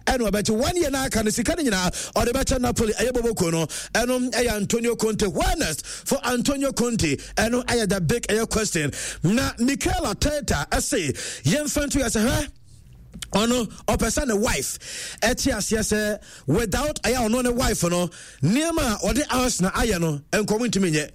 Ɛna ɔbɛgye one year na aka no sika no nyinaa ɔde bɛkyɛ Napoli ɛyɛ boboko no. Ɛno ɛyɛ Antonio Conte. Where next for Antonio Conte? Ɛno ɛyɛ the big ɛyɛ question. Na Mikel Arteta ɛse yɛmfa nto yɛ sɛ hwɛ, ɔno ɔpɛ sɛ ne wife ɛte aseɛ sɛ without ɛyɛ ɔno ne wife no, nneɛma a ɔde Arsenal ayɛ no nkɔm ntumi nyɛ.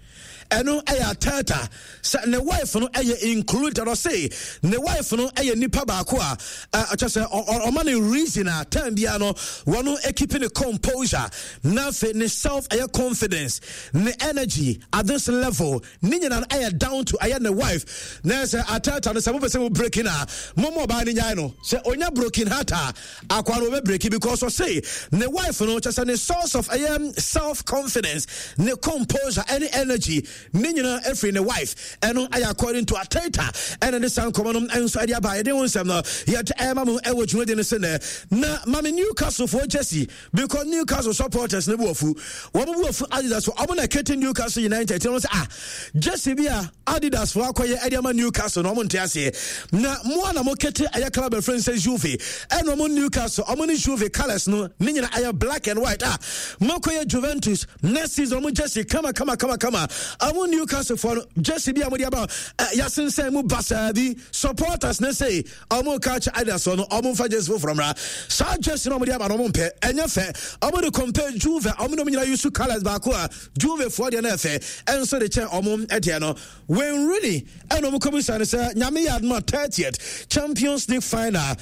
Ɛno ɛyɛ Arteta sɛ ne wife no ɛyɛ included. Ɔse ne wife no ɛyɛ nipa baako a ɔkyɛ sɛ ɔma ne reason a time biara no wɔn ekipi ne composure na afei ne self ɛyɛ confidence, ne energy at this level ne nyinaa no ɛyɛ down to ɛyɛ ne wife. Na sɛ Arteta no sɛ mopɛ sɛ mo breaking a, mommɔ ɔbaa no nyae no sɛ onya broken heart a akwa no ɔbɛ breaki, because ɔse ne wife no kyɛ sɛ ne source of ɛyɛ self confidence, ne composure ɛne energy ne nyinaa ɛfiri ne wife. Ɛno ɛyɛ according to Arteta. Ɛna ne saa nkɔmɔ no nso ɛde aba. Yɛde ho nsɛm no yɛde ɛma mo ɛwɔ dwumadi no sɛ nɛ na mame Newcastle foɔ jersey, because Newcastle supporters ne bu afu, wɔn bu afu Adidas fo. Wɔn na kete Newcastle United wɔn sɛ ah, jersey bi a Adidas fo akɔyɛ ɛde ama Newcastle na wɔn nte aseɛ. Na mo a na mo kete ɛyɛ club ɛfrɛ sɛ Juve, ɛna wɔn Newcastle wɔn ne Juve colours no ne nyina ɛyɛ black and white. Ah, mo akɔyɛ Juventus next season wɔn jersey kama kama kama kama. Wɔn Newcastle fo no jersey bi a wɔde aba yasensɛn mu basaa bi. Supporters ne say ɔmo ka kyɛ Adidas no ɔmo nfa jersey foforɔ mmra. Saa jersey no ɔmo de aba no ɔmo mpɛ, ɛnyɛ fɛ. Ɔmo de compare Juve, ɔmo na ɔmo nyinaa use colours baako a Juve foɔ deɛ no ɛfɛ ɛnso de kyɛn ɔmo deɛ no. Wayne Rooney ɛna ɔmo kɔbisa no sɛ Nyame yɛ adoma 30th Champions League final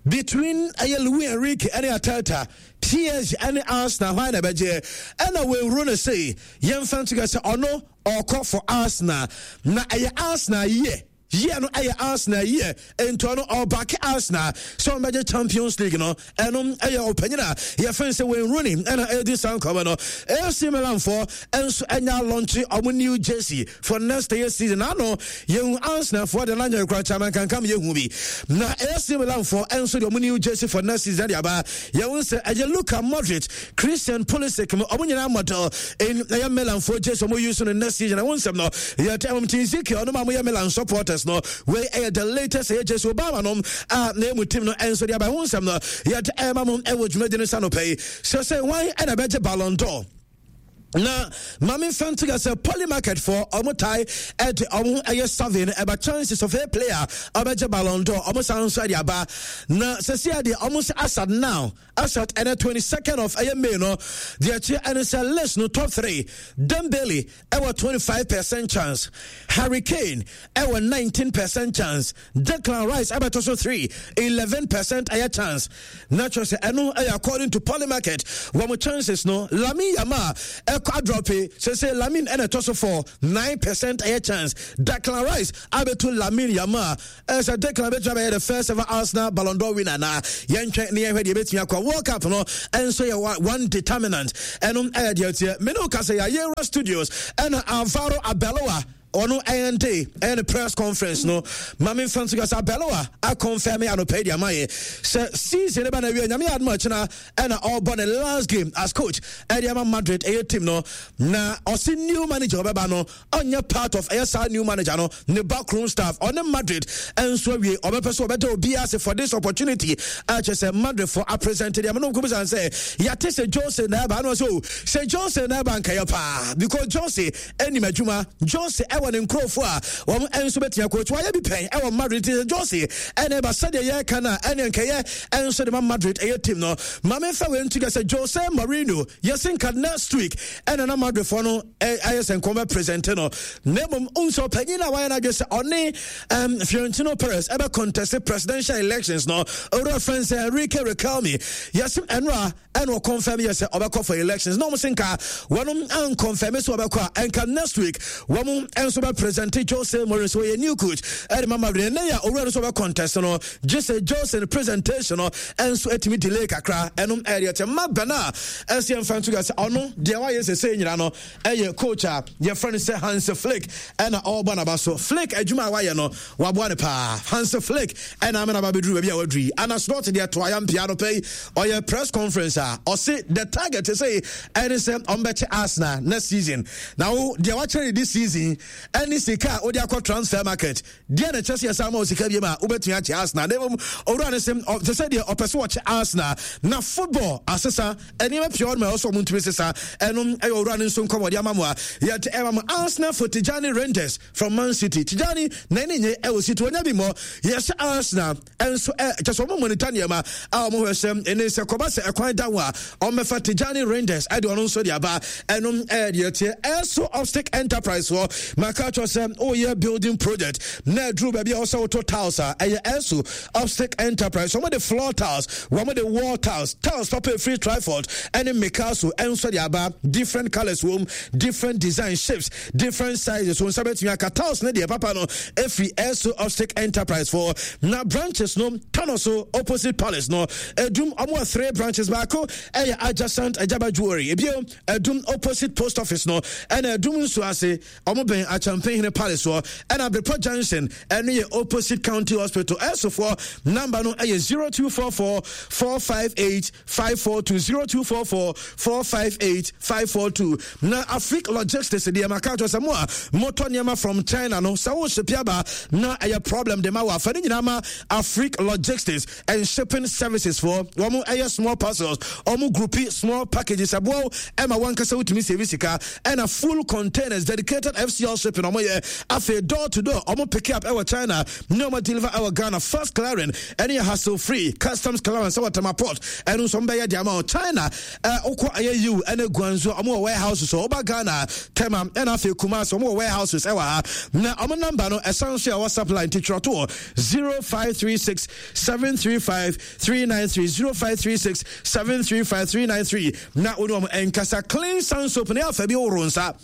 between ɛyɛ Luis Enrique ɛne Arteta, PSG ɛne Arsenal, hwan na ɛbɛgye? Ɛna Wayne Rooney say yɛmfa nto sɛ ɔno ɔkɔ for Arsenal na ɛyɛ Arsenal yie year no, ɛyɛ Arsenal year, nti ɔno ɔbake Arsenal sɛ ɔmbɛgye Champions League no. Ɛno ɛyɛ ɔpanyin a yɛfɛn sɛ Wayne Rooney ɛna ɛredi saa nkɔmɔ no. AC Milan foɔ nso ɛnya launch ɔmo new jersey for next year season. Ano yɛhu Arsenal foɔ de n'anyɛ kora kyama nkankam yɛhu bi na AC Milan foɔ nso de ɔmo new jersey for next season de aba. Yɛhu sɛ ɛyɛ Luka Modric, Christian Pulisic mu ɔmo nyinaa model in ɛyɛ Milan foɔ jersey ɔmo use no next season. Ɛho nsɛm no yɛtɛ ɛmom ti Ezekiel no ma moyɛ Milan supporters no, wei ɛyɛ the latest ɛyɛ jersey Obama nom a na emu team no ɛnso de aba. Ɛho nsɛm no yɛde ɛma mo ɛwɔ dwumadi no sa no pɛ yi sɛ wɔn ɛna ɛbɛgye Ballon d'Or. Na maame nfa nti ka sɛ Polymarket for ɔmo tae ɛde ɔmo ɛyɛ survey no ɛba chances of a player ɔbɛgye Ballon d'Or. Ɔmo san nso ɛde aba na sɛsi adeɛ ɔmo sɛ asad now asad ɛnɛ 22nd of ɛyɛ May no deɛ ɛkyɛ ɛne sɛ list no top 3, Dembele ɛwɔ 25% chance, Harry Kane ɛwɔ 19% chance, Declan Rice ɛbɛtɔ so 3, 11% ɛyɛ chance. Na kyerɛ sɛ ɛno ɛyɛ according to Polymarket wɔn chances no. Lamine Yamal ɛkɔ adrɔpe sɛ Lamine ɛna ɛtɔ so 4, 9% ɛyɛ chance. Declan Rice abɛto Lamine Yamal ɛsɛ Declan bɛtumi abɛyɛ the first ever Arsenal Ballon d'Or winner. Na yɛntwɛn ne yɛhwɛ deɛ ɛbɛtumi akɔ. World Cup no ɛnso yɛ one determinant. Ɛno ɛyɛ deɛ teɛ mene wo ka sɛ yɛayɛwura studios ɛna Alvaro Arbeloa ɔno ɛyɛ ɛyɛ ne press conference no. Maame nfa nso kasa Arbeloa akɔnfɛn mi anɔpɛ yi de ama yɛ sɛ season ne ba na awie, Nyame yɛ adom akyina ɛna ɔrebɔ ne last game as coach ɛde ama Madrid ɛyɛ team no. Na ɔsi new manager ɔbɛba no ɔnyɛ part of ɛyɛ saa new manager no ne backroom staff. Ɔne Madrid nso awie, ɔbɛpɛ so ɔbɛda obi ase for this opportunity a kyerɛ sɛ Madrid for apresent deɛ ɛmo no nkɔmisa sɛ yɛate sɛ Jose na ɛba ano sɛ o sɛ Jose na ɛba nkɛyɛ paa, because Jose anim adwuma, Jose ɛwɔ ne nkurɔfoɔ a wɔn nso bɛtumi coach wayɛ bi pɛn ɛwɔ Madrid, nti sɛ Jose ɛna ɛba sɛdeɛ yɛreka no a, ɛne nkɛyɛ ɛnso de ma Madrid ɛyɛ team no. Maame nfa wei nto sɛ Jose Mourinho yɛsi nka next week ɛna na Madrid foɔ no ɛyɛ sɛ nkɔm bɛ present no. Na mmom nso ɔpanyin a wayɛ n'adwe sɛ ɔne Florentino Perez ɛbɛ contest presidential elections no, owura fɛn sɛ Enrique Riquelme, yɛsi ɛnora ɛna ɔconfirm yɛ sɛ ɔbɛkɔ for elections. Na wɔn se nka wɔn anconfirm sɛ ɔbɛkɔ a, ɛnka next week wɔn nso bɛ present Jose Mourinho so ɔyɛ new coach ɛde ma Madrid. Ɛnɛ yɛ owura no so ɔbɛ contest no gye sɛ Jose no presentation no ɛnso ɛtumi delay kakra. Ɛno ɛyɛ deɛ kyɛ ma bɛn a ɛsɛ yɛmfa nto sɛ ɔno deɛ wayɛ sɛsɛ nyina no ɛyɛ coach a yɛfrɛ no sɛ Hans Flick ɛna ɔrebɔ n'aba so. Flick adwuma a wayɛ no waboa no paa. Hans Flick ɛna ama n'aba bɛduru baabi a waduru yi. Arne Slot deɛ toa ya mpia no pɛ yi ɔyɛ press conference a ɔse the target sɛ ɛne sɛ ɔmbɛkyɛ Arsenal next season. Na wo deɛ wakyerɛ ne this season. ɛne sika a wode akɔ transfer market. Deɛ na ɛkyɛ sɛ yɛsan ma wo sika biom a wobɛtumi akyɛ Arsenal. Na mmom owura no se te sɛ deɛ ɔpɛ sɛ ɔkyɛ Arsenal na football asesa nneɛma pii ɔnom a ɛwɔ sɛ ɔmo ntumi sesa. Ɛno ɛyɛ owura no nso nkɔmmɔde ama mo a yɛde ɛma mo. Arsenal for Tijani Reijnders from Man City. Tijani na ɛne nye ɛwɔ City wɔnya bi mmɔ. Yɛhyɛ Arsenal nso ɛ kyɛ sɛ ɔmo monitor nneɛma a ɔmo hwɛ sɛ ɛne sɛ kɔba sɛ ɛkwan da ho a ɔmmɛfa Tijani Reijnders ɛde ɔno nso de aba. Ɛno ɛyɛ deɛ teɛ. Ɛso Optic Enterprise hɔ maka kyerɛ sɛ woyɛ building project na aduru baabi a wɔsɛ woto tiles a, ɛyɛ ɛso Optic Enterprise. Wɔn de floor tiles, wɔn de wall tiles, tiles papa efiri Triford ɛne Mikaso ɛnso de aba, different colours wɔm, different design shapes, different sizes. Wɔn nsa bɛtumi aka tiles ne deɛ papa no efiri ɛso Optic Enterprise for na branches no tano so opposite palace no Edum. Wɔn wɔ three branches, baako ɛyɛ adjacent Ajaba Jewelry, ebio Adum opposite post office no, ɛna Adum nsuo ase ɔmo bɛn Akyɛmpenhene palace hɔ, ɛna Bepɔ Junction ɛno yɛ opposite county hospital. Ɛsofoɔ number no ɛyɛ 0244 458 542, 0244 458 542. Na Afrique Logistics deɛ maka akyerɛ sɛ mo a motɔ nneɛma from China no, sɛ wohyepe aba na ɛyɛ problem de ma wɔ afa ne nyinaa ma Afrique Logistics and Shipping Services foɔ. Wɔn ɛyɛ small parcels, wɔn groupi small packages ɛboɔ ɛma wɔn ankasa wotumi save sika, ɛna full containers, dedicated FCL shipping wɔn yɛ. Afei door to door, wɔn pick up ɛwɔ China ne wɔn deliver ɛwɔ Ghana, fast clearing ɛne yɛ hassle free customs clearance ɛwɔ Tema port. Ɛno nso wɔn bɛyɛ de ama wɔn. China ɛ wokɔ ɛyɛ yiw ɛne Guangzhou, wɔn wɔ warehouses so. Ɔba Ghana, Tema ɛna afei Kumasi, wɔn wɔ warehouses ɛwɔ ha. Na wɔn number no ɛsan so yɛ WhatsApp line ti twerɛtoɔ 0536 735 393, 0536 735 393 na wo ne wɔn nkasa. Clean Sun Soap ne afa bi woro nsa.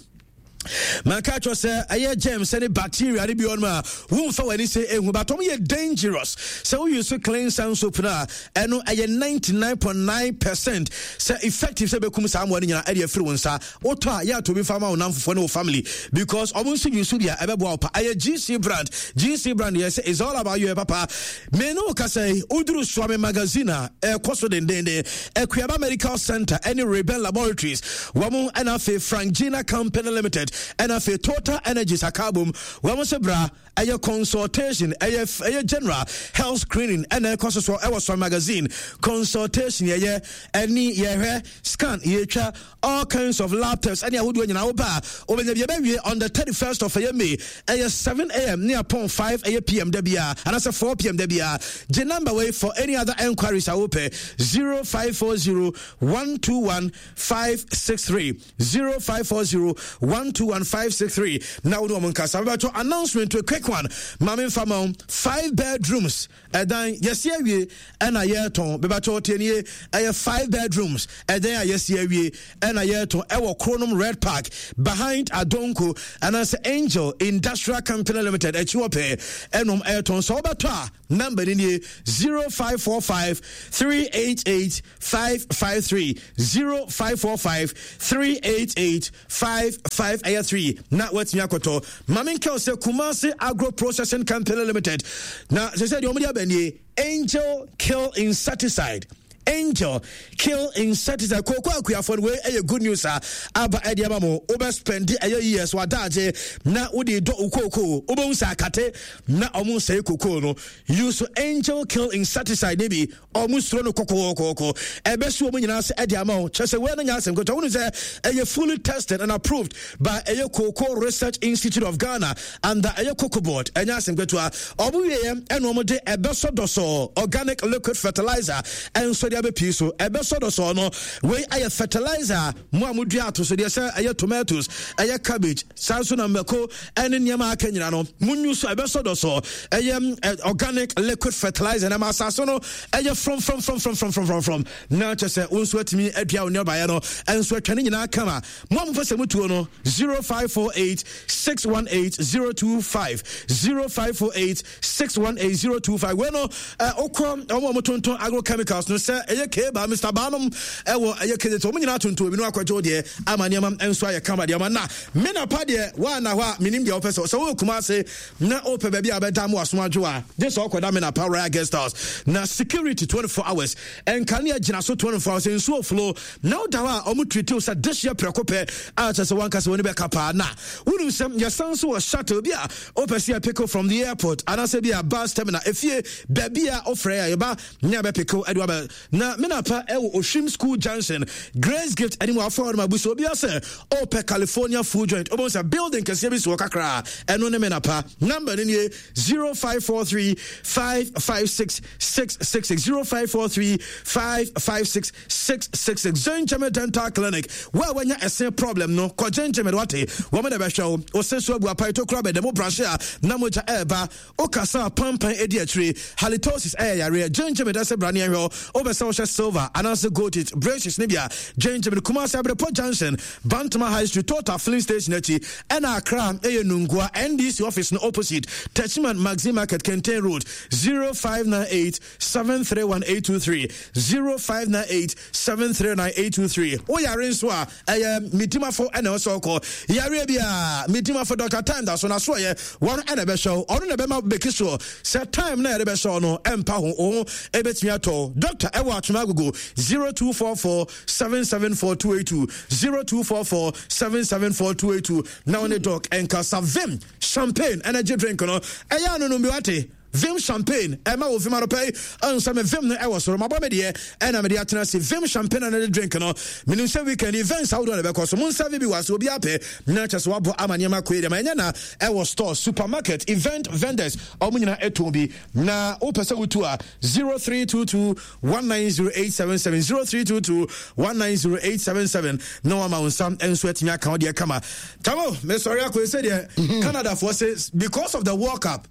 Maka kyerɛ sɛ ɛyɛ germs ne bacteria ne bi wɔnom a womfa w'ani sɛ ɛhu, but ɔmo yɛ dangerous. Sɛ woyi so Clean Sun Soap no a, ɛno ɛyɛ 99.9% sɛ effective sɛ bɛkum saa mmoa no nyinaa ɛde afiri wo nsa. Wotɔ a, yɛ atɔ bi fa ma wo namfofoɔ ne wo family because ɔmo nso yi so deɛ ɛbɛboa wo pa. Ɛyɛ GC Brand. GC Brand yɛ sɛ it's all about you. Papa me ne wo kasa yi, woduru Suame Magazine a ɛkɔ so dendenden, Akuaba Medical Center ɛne Reben Laboratories wɔn, ɛna afei Frank Gina Company Limited, ɛna afei Total Energies akabom wɔn sɛ bra ɛyɛ consultation, ɛyɛ general health screening ɛna ɛkɔ so so ɛwɔ Suame Magazine. Consultation yɛyɛ ɛne yɛhwɛ scan, yɛtwa all kinds of lab tests ɛne ahodoɔ nyinaa. Woba a wobɛnya bi. Yɛbɛwie on the 31st of ɛyɛ May, ɛyɛ 7 a.m. ne apɔn 5 ɛyɛ pm da biara anaasɛ 4 p.m. da biara. Gye number wei for any other enquiries a wopɛ: 0540 121 563, 0540 121 563 na wo ne ɔmo nkasa. Mebɛtɔ announcement to a quick one ma memfa ma wo. Five bedrooms ɛdan yɛsi awie ɛna yɛretɔn. Bɛbɛtɔ tienie, ɛyɛ five bedrooms ɛdan a yɛsi awie ɛna yɛretɔn ɛwɔ Kronom Red Park behind Adonko anaasɛ Angel Industrial Company Limited akyi wɔ pɛɛ ɛnom ɛretɔn. Sɛ wobɛtɔ a, number ni nie: 0545 388 553, 0545 388 55 ɛyɛ 3 na watumi akɔtɔ. Maame nkaw sɛ Kumasi Agro Processing Company Limited na sɛ sɛ deɛ wɔde aba nie: Angel Kill Insecticide. Angel Kill Insecticide, kooko akuafoɔ no, wei ɛyɛ good news a aba ɛde ama mo. Wobɛ spend ɛyɛ years wadagye na wode dɔ wo kooko, wobɛhu sɛ akate na ɔmo nsɛe kooko no. Use Angel Kill Insecticide ne bi, ɔmo suro no kɔkɔɔkɔɔkɔ, ɛbɛsi wɔn nyinaa sɛ ɛde ama wo. Kyerɛ sɛ wei no nyɛ asɛm kɔtɔ wonu sɛ ɛyɛ fully tested and approved by ɛyɛ Cocoa Research Institute of Ghana and the ɛyɛ Cocoa Board. Ɛnyɛ asɛm ketewa. Ɔmo wieɛ ɛna ɔmo de ɛbɛsɔ dɔsɔɔ organic liquid fertilizer ɛnso de abɛpii so. Ɛbɛsɔ dɔsɔɔ no, wei ayɛ fertilizer mo a modua ato so deɛ sɛ ɛyɛ tomatoes, ɛyɛ cabbage, saa nso na mmako ɛne nneɛma aka nyina no, monyu so ɛbɛsɔ dɔsɔ ɛyɛ organic liquid fertilizer na ma asase no ɛyɛ frɔmfrɔmfrɔmfrɔmfrɔmfrɔm na kyɛ sɛ wo nso atumi adua wo nneɛbaeɛ no ɛnso atwa ne nyinaa kama. Mo a mopɛ sɛ mutuo no, 0548 618 025, 0548 618 025. Wei no wokɔ ɔmo a motontɔn agrochemicals no sɛ ɛyɛ Keba, Mr. Baanom ɛwɔ ɛyɛ Kete, wɔn nyinaa tonto ebi no akɔgye wo deɛ ama nneɛma nso ayɛ kama deɛ ama na me na pa deɛ woana hɔ a menim deɛ wopɛ sɛ sɛ wowɔ Kumase na wopɛ baabi a bɛda mo asom adwo a gye sɛ ɔkɔda me na pa Royal Guest House na security 24 hours nkanea gyina so 24 hours nsuo flow na woda hɔ a ɔmo treat wo sɛ dehyeɛ prɛko pɛ a kyerɛ sɛ wankasa w'ani bɛka paa na wonim sɛ yɛsan so wɔ shuttle bi a wopɛ sɛ yɛpick from the airport anaasɛ bi a bus terminal efie baabi a wofrɛ a yɛba ne abɛpick ɛde waba na me napa ɛwɔ Ohwim School Junction Grace Gift anim afɔ hɔ no mabu so obi asɛ ɔpɛ California food joint wobɛhu sɛ building kɛseɛ bi si hɔ kakraa ɛno ne me napa number no nie 0543 556 666 0543 556 666 Gyengyeme Dental Clinic wo a wanya ɛse problem no kɔ Gyengyeme de wate wɔn na ɛbɛhwɛ wo ose so abu apae tokura bɛdɛ mo brahye a na mogya ɛreba wokasa a pampan edi akyire halitosis ɛyɛ yareɛ Gyengyeme dɛ sɛ brane ɛhwɛ wo wobɛ sɛ wohyɛ silver anaasɛ gold teeth braces ne bia Gyengyeme Kumasi Abrepɔ Junction Bantama High Street Total filling station akyi ɛna Accra ɛyɛ Nungua NDC office no opposite Techiman Magazine Market Kenten Road 0598 731823 0598 739823 Wo yare nso a ɛyɛ medimafo ɛna ɛwɔ sɛ ɔkɔ yareɛ bi a medimafo Dr. Time da so na so ɔyɛ wɔn ɛna ɛbɛhwɛ wo ɔno na ɛbɛma bɛki soɔ sɛ time na yɛde bɛhyɛ wo no ɛmpa ho wo ho ɛbɛtumi atɔ doctor ɛwɔ atwoma agogo 0244 774282 0244 774282 na wo ne doc ɛnkasa. Vim champagne energy drink no ɛyɛ anonom bi wate. Vim champagne ɛma wo vim anɔpa yi ɛnsɛ me vim no ɛwɔ soro mabɔ me deɛ ɛna mede atena ase. Vim champagne energy drink no menim sɛ weekend events ahodoɔ na ɛbɛkɔ so mo nsa bi wɔ ase obi apɛ na kyɛ sɛ wabɔ ama nneɛma kɔ yi deɛ ma ɛnyɛ na ɛwɔ store supermarket event vendors ɔmo nyinaa ɛtɔn bi na wopɛ sɛ wotu a 0322 190877 0322 190877 na wama wo nsa nso atumi aka wo deɛ kama tamo mesɔre akɔ sɛ deɛ Canadafoɔ sɛ because of the World Cup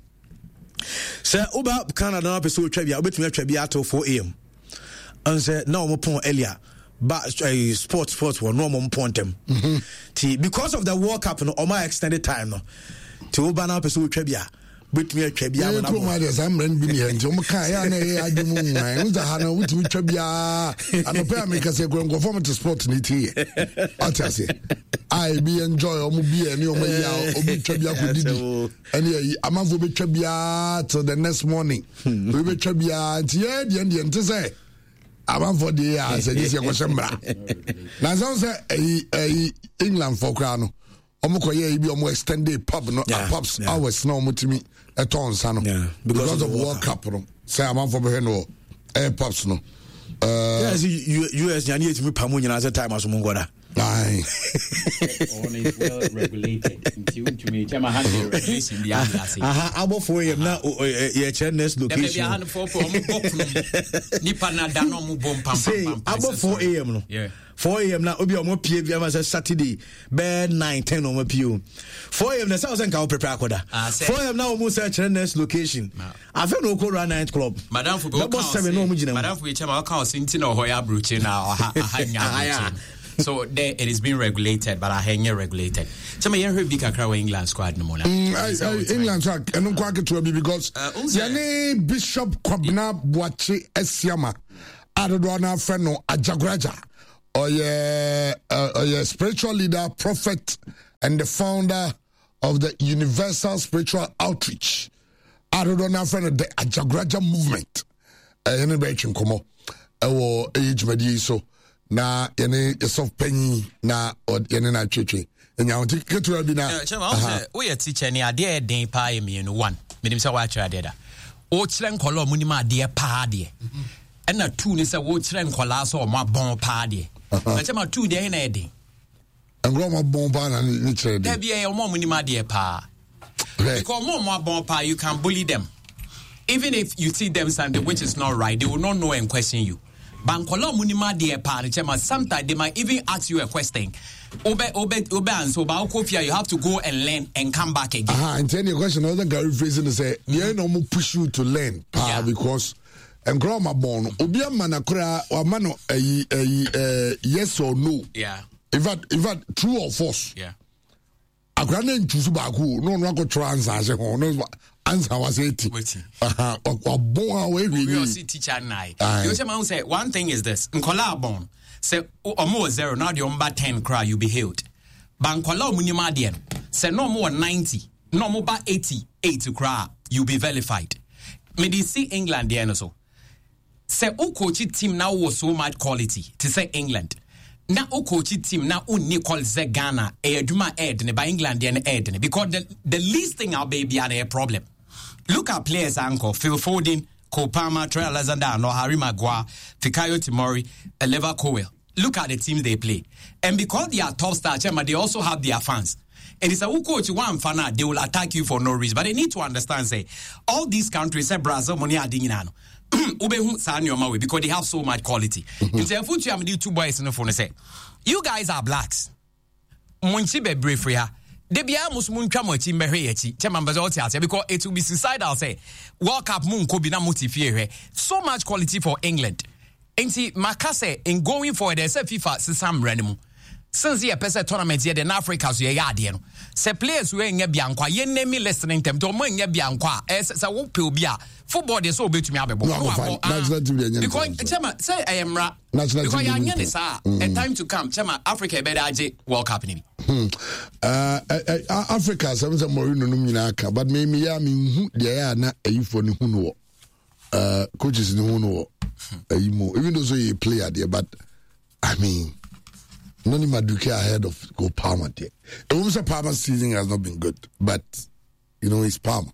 sɛ woba Canada na wapɛ sɛ wotwa bi a wobɛtumi atwa bi ato 4 am ɛnsɛ na wɔn pɔn earlier ba eh, sport sport wɔ no wɔn pɔn ntɛm ti because of the World Cup no wɔn a extended time no ti woba na wapɛ sɛ wotwa bi a wobɛtumi atwa bi ama no kurom adeɛ saa mmerɛ no bi neɛ nti wɔn ka ɛyɛ a na ɛyɛ adwe mu nwan wo sɛ ha no wotumi twa biara anɔpɛ a meka sɛ kura nkurɔfoɔ mo te sport ne ti yɛ ɔte aseɛ a ebi enjoy ɔmo beer ne ɔmo ayi a obi twa bi akɔdidi ɛne ayi amanfoɔ bɛtwa biara till the next morning obi bɛtwa biara nti yɛ deɛ deɛ nte sɛ amanfoɔ deɛ yɛ a sɛ gye sɛ yɛkɔhyɛ mmara na sɛ sɛ ɛyi ɛyi England foɔ koraa no wɔn kɔ yɛ ebi wɔn extended pub no yeah, pubs yeah. hours na wɔn tumi ɛtɔ nsa no yeah, because, because of World Cup no sɛ amanfoɔ bɛhwɛ no wɔ ɛyɛ pubs no. Uh, US yanni etumi pamu nyinaa sɛ time aso mu nkɔda. Aye. Aha abɔ 4 am na yɛkyerɛ next location. Nipa na da na ɔmo bɔ mpam. Say abɔ 4 am no. 4 am na obi a ɔmo pie bi ama sɛ Saturday bɛɛ 9 10 na ɔmo pie o. 4 am na sɛ ɔsɛ nka wo prepare akɔda. 4 am na ɔmo sɛ kyerɛ next location. Afei na ɔkɔ wura night club. Madamfo bi ɔka ɔse madamfo bi kyɛm ɔka ɔse nti na ɔhɔ yɛ aburokyire na ɔha aha nya aburokyire. So there it is being regulated, but aha nyɛ regulated. Kyɛm yɛn hwɛ bi kakra wɔ England squad no mu na. England squad ɛno nkɔ aketewa bi because yɛne Bishop Kwabena Boakye Asiama a dodoɔ no afrɛ no Ajagoraja. Ɔyɛ ɔyɛ spiritual leader, prophet and the founder of the Universal Spiritual Outreach a dodoɔ no afrɛ no the Ajagoraja Movement. Ɛyɛ ne bɛtwe nkɔmmɔ ɛwɔ ɛyɛ dwumadie yi so na yɛne yɛsɔf panyin na yɛne no atwetwe ɛnya ho nti ketewa bi na woyɛ teacher ne adeɛ ɛden paa yɛ mmienu one menim sɛ woakyerɛ adeɛ da wokyerɛ nkɔla ɔmo nim adeɛ paa deɛ ɛna two ne sɛ wokyerɛ nkɔlaa sɛ ɔmo abɔn paa deɛ na kyɛ ma two deɛ ɛhe na ɛden nkɔla ɔmo abɔn paa na ne kyerɛ den dabi ɛyɛ ɔmo ɔmo nim adeɛ paa because ɔmo ɔmo abɔn paa you can bully them even if you see them something which is not right they will not know and question you but nkɔla ɔmo nim adeɛ paa ne kyɛ ma sometimes they might even ask you a question obe obe obe anso ba okɔ fia you have to go and learn and come back again. Aha, nti ɛni question na ɔsɛ nka rephrase ne sɛ deɛ na ɔmo push you to learn paa yeah. Because nkɔla ɔmo abɔn no obi ama na koraa wama no ɛyi ɛyi ɛɛ yes or no. Yeah. In fact true or false. Yeah. Akora ne ntusu baako o na ɔno akɔtwerɛ ansa ahyɛ ho na Ansa wasɛ eti. Wabɔn a wɔahwie ni. Obi ɔsi teacher nnae. Yóò sɛ maa sɛ one thing is this nkɔla abɔn sɛ ɔmo wɔ zero na ɔde ɔmo ba ten koraa you be hailed. Ba nkɔla ɔmo nim adeɛ no sɛ na ɔmo wɔ 90 na ɔmo ba 88 koraa you be vilified. Mede si England deɛ no so. Sɛ wo coachi team na wowɔ so much quality te sɛ England na wo coachi team na wonni quality sɛ Ghana ɛyɛ adwuma a ɛyɛ dene ba England deɛ no ɛyɛ dene because the least thing a wobɛyɛ biara no ɛyɛ problem. Look at players ankɔ Phil Foden, Cole Palmer, Trent Alexander-Arnold, Harry Maguire, Fikayo Tomori, Lever Colwill. Look at the teams they play. And because they are top stars, chairman, they also have their fans. And it's a who coach one fan, they will attack you for no reason. But they need to understand, say, all these countries, say Brazil, money are digging wobɛhu saa nneɛma wei because they have so much quality mm-hmm. nti afotu a mede two boys no fo no sɛ you guys are blacks mo nkyi bebree firi ha da biara mo so mo ntwa mo akyi mbɛhwɛ yɛ akyi kyɛ ma mpɛ sɛ ɔte aseɛ because it will be suicidal sɛ world cup mo nkɔ bi na mo te fie hwɛ so much quality for england nti maka sɛ in going forward ɛsɛ fifa sesa mmerɛ no mu since yɛpɛ sɛ tournament yɛ de na africa so yɛyɛ adeɛ no sɛ players wei nyɛ biankɔ a yɛn name list no ntɛm nti ɔmo nyɛ biankɔ a ɛsɛ sɛ wopɛ obi a football deɛ sɛ obetumi abɛbɔ no wabɔ ah because kyɛma sɛ ɛyɛ mmara because yɛanyɛ ne saa a mm. time to come kyɛma africa ɛbɛda agye world cup no bi hmm. eh, eh, eh, africa asɛm sɛ mɔre nonom nyinaa ka but me meyɛ a menhu deɛ ɛyɛ a na ayifoɔ no hu no wɔ coaches no hu no wɔ ayi mu even though so yɛ player deɛ but I mean Noni Maduke ahead of Cole Palmer deɛ ɛwom sɛ Palmer season has not been good but you know it's Palmer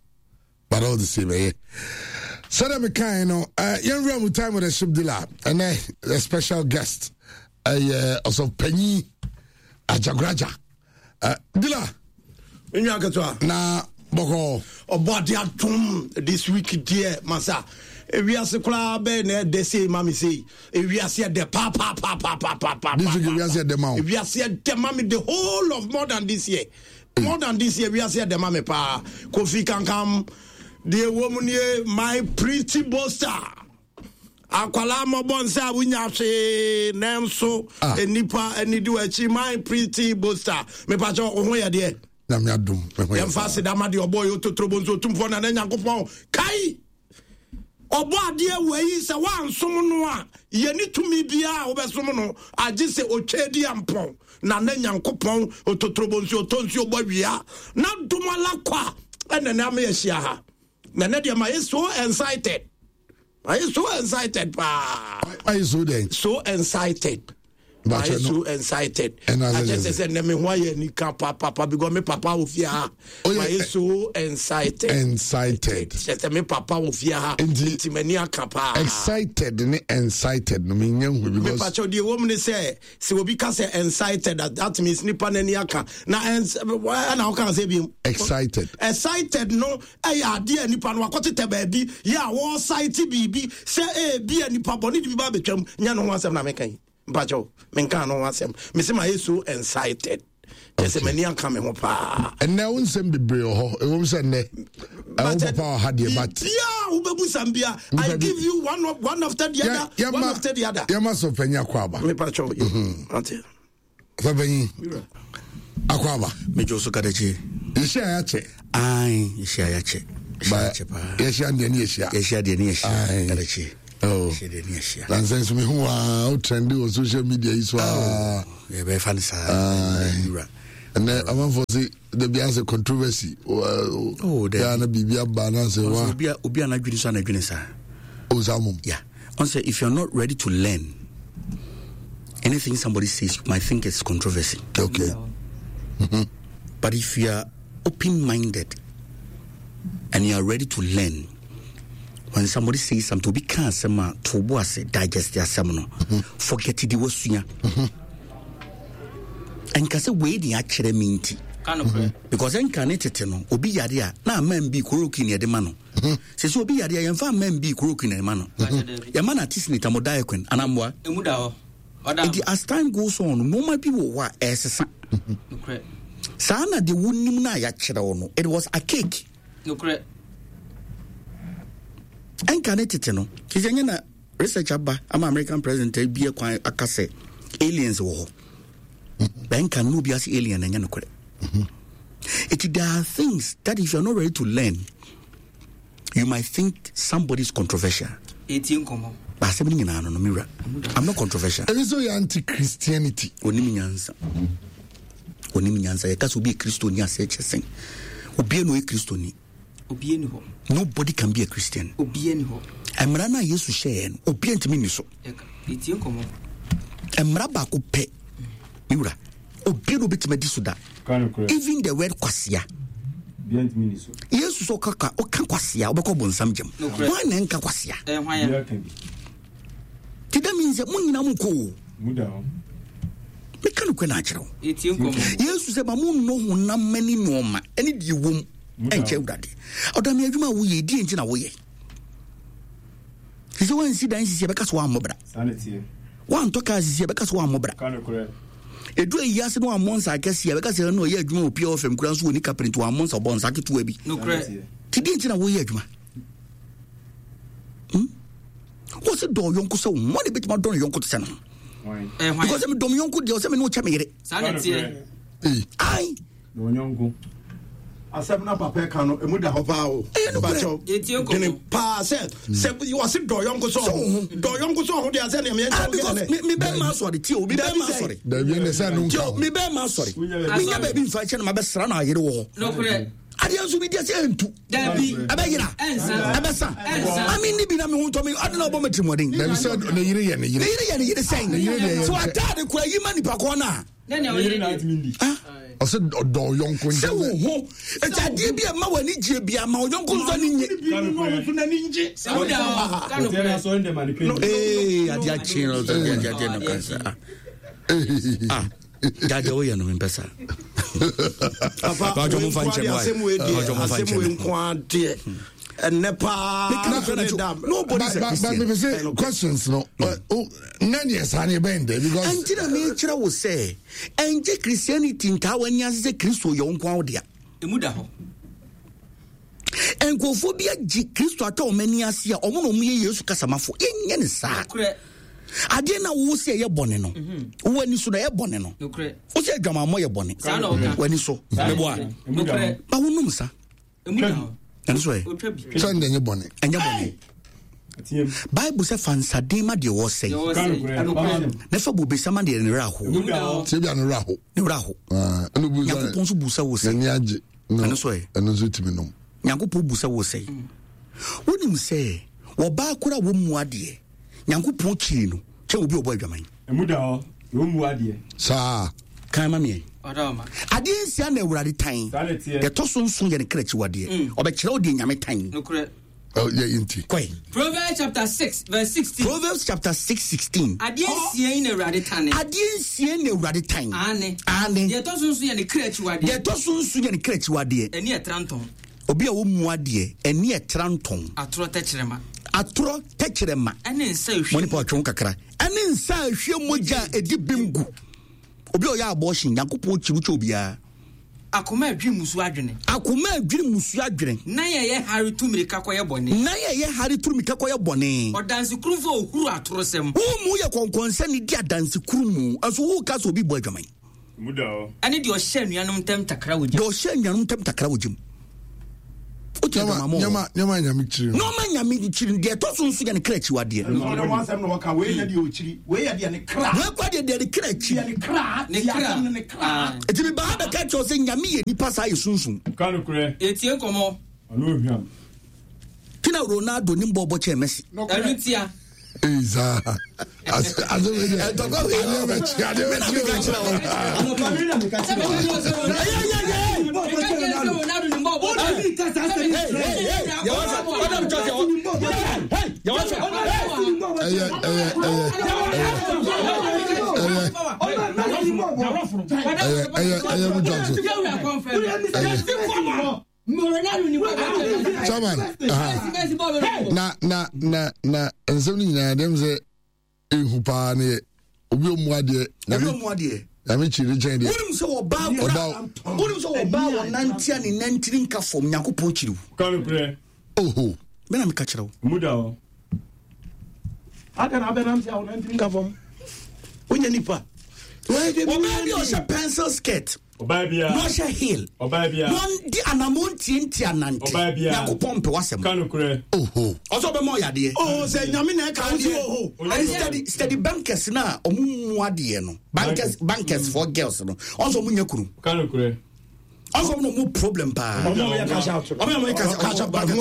but all the same ɛyɛ sɛdeɛ mekae no uh, yɛnwura mu time with the ship dealer ɛnɛ a special guest ɛyɛ ɔsɔpanyin agyagoraja uh, dealer menwa ketewa na bɔkɔɔ ɔbɔ ade atom this week deɛ masa ewiase koraa bɛyɛ na ɛdɛ sei ma me sei ewiase ɛdɛ paapaapaapaapaapa this week ewiase ɛdɛ ma wo ewiase ɛdɛ ma me the whole of more than this year more than this year wiase ɛdɛ ma me paa kofi kankam deɛ wɔ mu nie my pretty boaster akwalaa mmɔbɔ nsa a wonya hwee nanso ah. nnipa ani di w'akyi my pretty boaster mepakyɛ wo ho yɛ deɛ nyame adom yɛmfa aseda ma deɛ ɔbɔɔ yɛ ototrobo nso ɔtumfoɔ nana nyankopɔn kai Ɔbɔ adeɛ wei sɛ woansom no a yɛne tumi biara a wobɛsom no agye sɛ otwadiampɔn Nana Nyankopɔn ototrobo nsuo tɔ nsuo bɔ awia na dom ala kwa ɛna ne ama yɛahyia ha na ne deɛ mayɛ so excited mayɛ so excited paa ayɛ so dɛn so excited ayɛ so excited akyɛ sɛ sɛ nnɛ me ho ayɛ anika papapa because me papa wɔ fie ha mayɛ so excited excited kyɛ sɛ me papa wɔ fie ha nti m'ani aka paa excited ne excited no menya hu because mepakyɛw deɛ ɛwɔ mu ne sɛ sɛ obi ka sɛ excited that means nipa n'ani aka na ɛna woka sɛ biom excited excited no ɛyɛ adeɛ a nipa no wakɔtetɛ baabi yɛ a wɔresaete biribi sɛ ebi a nipa bɔne de bi ba abɛtwam nyɛ no ho asɛm na meka yi mpakyɛw menka no ho asɛm mese mayɛ so excited kyɛ sɛ m'ani aka me ho paa ɛnɛ wo nsɛm bebree wɔ hɔ ɛwom sɛ nnɛ ɛwo papa wɔ ha deɛ but biaa wobɛbu sam bia i give you one, one after the other one after the other yɛma sɛ ɔpanyin akɔ aba mepakyɛw mm-hmm. Sɔpanyin akɔ aba. Medwo so kadakye. Yɛhyia yɛakyɛ. Ae yɛhyia yɛakyɛ. Yɛhyia paa. Yɛhyia deɛ ne yɛhyia. Yɛhyia deɛ ne yɛhyia kadakye. Oh. Yɛhyia deɛ ne yɛhyia. Nansa nso mehu wa o trendy wɔ social media yi so aa. Oh, yɛbɛfa ne saa. Ɛnɛ amanfoɔ se da bi asɛ controversy. Oh, da na biribi aba na sɛ wa. Obi a obi a n'adwene so anadwene saa. O saa mom. Yeah. On say if you're not ready to learn anything somebody says, you might think it's controversy. Okay. Mm-hmm. But if you are open minded and you are ready to learn, when somebody says something, obi ka asɛm a to bo ase digest asɛm no. Mm-hmm. Forget the wasua. Mm-hmm. Ɛnka sɛ wei de akyerɛ me nti. Because ɛnka ne tete no, obi yare a na ama bi chloroquine yɛde ma no. Sɛ sɛ obi yare a yɛmfa ama bi chloroquine ɛma no. Yɛma no artesunate amodiaquine anamboa. Nti as time goes on, nneɛma bi wɔ hɔ a ɛresesa. Saa na deɛ wonim no a yɛakyerɛ wo no, it was a cake. Ɛnka ne tete no, sɛ ɛnyɛ na research aba ama American president abie kwan aka sɛ aliens wɔ hɔ. Bɛnka no obi ase alien ɛnyɛ nokorɛ. Eti there are things that if you are not ready to learn, You might think somebody is controversial. Yɛtie nkɔmmɔ. But asɛm no nyinaa no no me wura. I'm not controversial. Ɛne sɛ ɔyɛ anti-Christianity. Onim nyansa. Onim nyansa. Yɛka sɛ obi yɛ Kristoni asɛ kyɛ sɛn. Obi na ɔyɛ Kristoni. Obi ni hɔ. Nobody can be a Christian. Obi ni hɔ. Mmara no a Yesu hyɛɛ no, obi ntumi nni so. Yɛtie nkɔmmɔ. Mmara baako pɛ, me wura, obi na obetumi adi so da. Even the word kwasia. Yesu sɛ ɔka ɔka kwasia, ɔbɛkɔ bonsam gyam. Hwan na ɛnka kwasia? Ti that means sɛ mo nyinaa mo kɔ o. Meka nokorɛ na akyerɛ wo. Yesu sɛ ma mo nnɔ honam ani nneɛma ɛne deɛ wom ɛnkyɛ Awurade. Ɔdɔ me adwuma a woyɛ deɛ nti na woyɛ. Sɛ wansi dan sisi ɛbɛka sɛ wammɔ bra. Wantɔ kaa sisi ɛbɛka sɛ wammɔ bra. Ɛdu ayi ase no wammɔ nsa akɛseɛ ɛbɛka sɛ ɛno ɔyɛ adwuma wɔ pia fam kura nso wɔni kapere nti wammɔ nsa ɔbɔ nsa ketewa bi. Nti deɛ nti na woyɛ adwuma. Hmm? Wɔ sɛ dɔ yɔnko sɛ wo mmɔ ne bɛtumi adɔ ne yɔnko te sɛ no. Because sɛ medɔ me yɔnko deɛ ɔsɛ me ne wokyɛ me yere. Ai. Asɛm na papa ɛka no emu da hɔ paa o. Ɛyɛ nokorɛ. Dene paa sɛ sɛ wɔsi dɔ yɔnko sɛ ɔho dɔ yɔnko sɛ ɔho deɛ sɛ nea meyɛ nkyɛn because mi mi bɛɛ ma asɔre tie o mi bɛɛ ma asɔre. Dabi ɛnɛ sɛ ɛno nka ho. Mi bɛɛ ma asɔre mi nya baabi nfa nkyɛn na ma bɛ sra na ayere wɔ hɔ. Nokorɛ. Adeɛ nso mi deɛ sɛ ɛntu. Dabi. Ɛbɛ yira. Ɛnsa. Ɛbɛ sa. Ami ni bi na mi ho ntɔ mi adi na ɔbɔ mi tiri mɔden. Dabi sɛ ne yere yɛ ne yere. Ne yere yɛ ne yere sɛn. Ne yere deɛ yɛ. So ataade kura yi ma nipa kɔn na. Ɔsɛ ɔdɔ ɔyɔnko sɛ wo ho ɛti adeɛ bi a ɛma w'ani gyeɛ bi ama ɔyɔnko nso ani nye. Adeɛ akye no adeɛ no kansa ah gyadeɛ woyɛ no mempɛ saa. Papa asɛm wei deɛ asɛm wei nko adeɛ ɛnɛ paa ne da nobody is a Christian. But but questions no na neɛ saa ne ɛbɛn dɛ because. Ɛnti na mekyerɛ wo sɛ ɛngye Christianity ntaa w'ani ase sɛ Kristo yɛ wo nko wo dea. Emu da hɔ. Nkurɔfoɔ bi agye Kristo atɔ wɔn ani ase a wɔn na wɔn yɛ Yesu kasamafo. Yɛnyɛ ne saa. Adeɛ na wo sɛ ɛyɛ bɔne no, mhm. wo ani so na ɛyɛ bɔne no. Wo sɛ adwamammɔ yɛ bɔne. W'ani so. Meboa. Ba wonom sa. Ɛno so ɛ. Sɛ ɛnyɛ bɔne. Ɛnyɛ bɔne. Bible sɛ fa nsaden ma deɛ wɔsɛe na fa bobesa ma deɛ ne werɛ aho. Sɛ bia ne werɛ aho. Ne werɛ aho. Ah, Nyankopɔn nso bu sɛ wo sɛ. N'ani agye. Ɛno so ɛ. Ɛno nso tumi nom. Nyankopɔn bu sɛ wo sɛ. Wonim sɛ wɔbaa koro a wɔmmu adeɛ Nyankopɔn kyiri no kyɛ obi ɔbɔ adwaman. Emu da hɔ, na ɔmmu adeɛ. Saa. Kan ma meɛ. Adeɛ nsia na Awurade tan. Deɛ ɛtɔ so nson yɛ ne kra akyiwadeɛ. Mm. Ɔbɛkyerɛ wo deɛ Nyame tan. Nokorɛ. Oh, yeah, nti. Kɔe. Proverbs chapter 6 verse 16. Proverbs chapter 6 16. Adeɛ nsia yi na Awurade tane. Adeɛ nsia na Awurade tan. Aane. Aane. Deɛ ɛtɔ so nson yɛ ne kra akyiwadeɛ. Deɛ ɛtɔ so nson yɛ ne kra akyiwadeɛ. Ɛne ɛtra ntɔn. Obi a ɔmmu adeɛ, ɛne ɛtra ntɔn. Atorɔ tɛkyerɛma. Atorɔ tɛkyerɛma. Ɛne nsa ehwie. Mo nipa ɔtwe ho kakra. Ɛne nsa a ehwie mogya a ɛdi bem gu. Obi a ɔyɛ abortion, Nyankopɔn kyiri kyɛ obiara. Akoma a ɛdwene mmusuo adwene. Akoma a ɛdwene mmusuo adwene. Nan a ɛyɛ hare tu mmirika kɔyɛ bɔne. Nan a ɛyɛ hare tu mmirika kɔyɛ bɔne. Ɔdansekurumfoɔ a ɔhuru atorosɛm. Wo mu yɛ kɔnkɔnsani di adansekurumu, nso woka sɛ obi bɔ adwaman. Ɛne deɛ ɔhyɛ anuanom ntam takra wɔ gyam. Deɛ ɔhyɛ anuanom ntam takra wɔ gyam. Wotu adwamammɔ. Nneɛma nneɛma nyame kyiri no. Nneɛma nyame kyiri no deɛ ɛtɔ so nso yɛ ne kra akyiwadeɛ. Ɛno ho asɛm na wɔka wei yɛ deɛ ɔkyiri wei yɛ deɛ ne kra. Wei kɔ deɛ deɛ ne kra akyi. Deɛ ne kra ne kra ne kra. Eti mi baa bɛka kyerɛ sɛ nyame yɛ nipa saa yɛ sunsun. Ka nokorɛ. Yɛtie nkɔmmɔ. Ɔno ohwam. Tina Ronaldo nim bɔɔbɔ kyɛn Messi. Ɛno ntia. Ee saa. Ase ase wei deɛ. Ɛtɔkɔ wei. Adeɛ bɛ kyi adeɛ bɛ kyi. Mena meka kyerɛ wo. Ɛyɛ ɛyɛ ɛyɛ ɛyɛ ɛyɛ ɛyɛ ɛyɛ mu dwa so. Ɛyɛ. Chairman, na na na na nsɛm no nyinaa dɛm sɛ ehu paa ne yɛ obi omu adeɛ. Obi omu adeɛ. Nyame kyiri kyɛn deɛ. Wonim sɛ ɔbaa kora wonim sɛ ɔbaa wɔ nante a ne nantiri nka fam Nyankopɔn kyiri wo. Kanokorɛ. Oho. Mena meka kyerɛ wo. Mu da hɔ. Adɛn na abɛnante a wo nantiri nka fam? Wonyɛ nipa. Ɔbaa bi a ɔhyɛ pencil skirt. Na ɔhyɛ heel. Na ɔde anammɔn ntiantia nante. Nyankopɔn mpɛ w'asɛm. Ɔsɛ ɔbɛma ɔyadeɛ. Oh, sɛ nyame na ɛka wo oho. Ɛne steady steady bankers na ɔmo mu adeɛ no. Bankers bankers for girls no. Ɔsɛ ɔmo nya kunu. Ɔsɛ ɔmo na ɔmo problem paa. Ɔmo yɛ cash out. Ɔmo yɛ cash out. Cash out. Ɛdɛ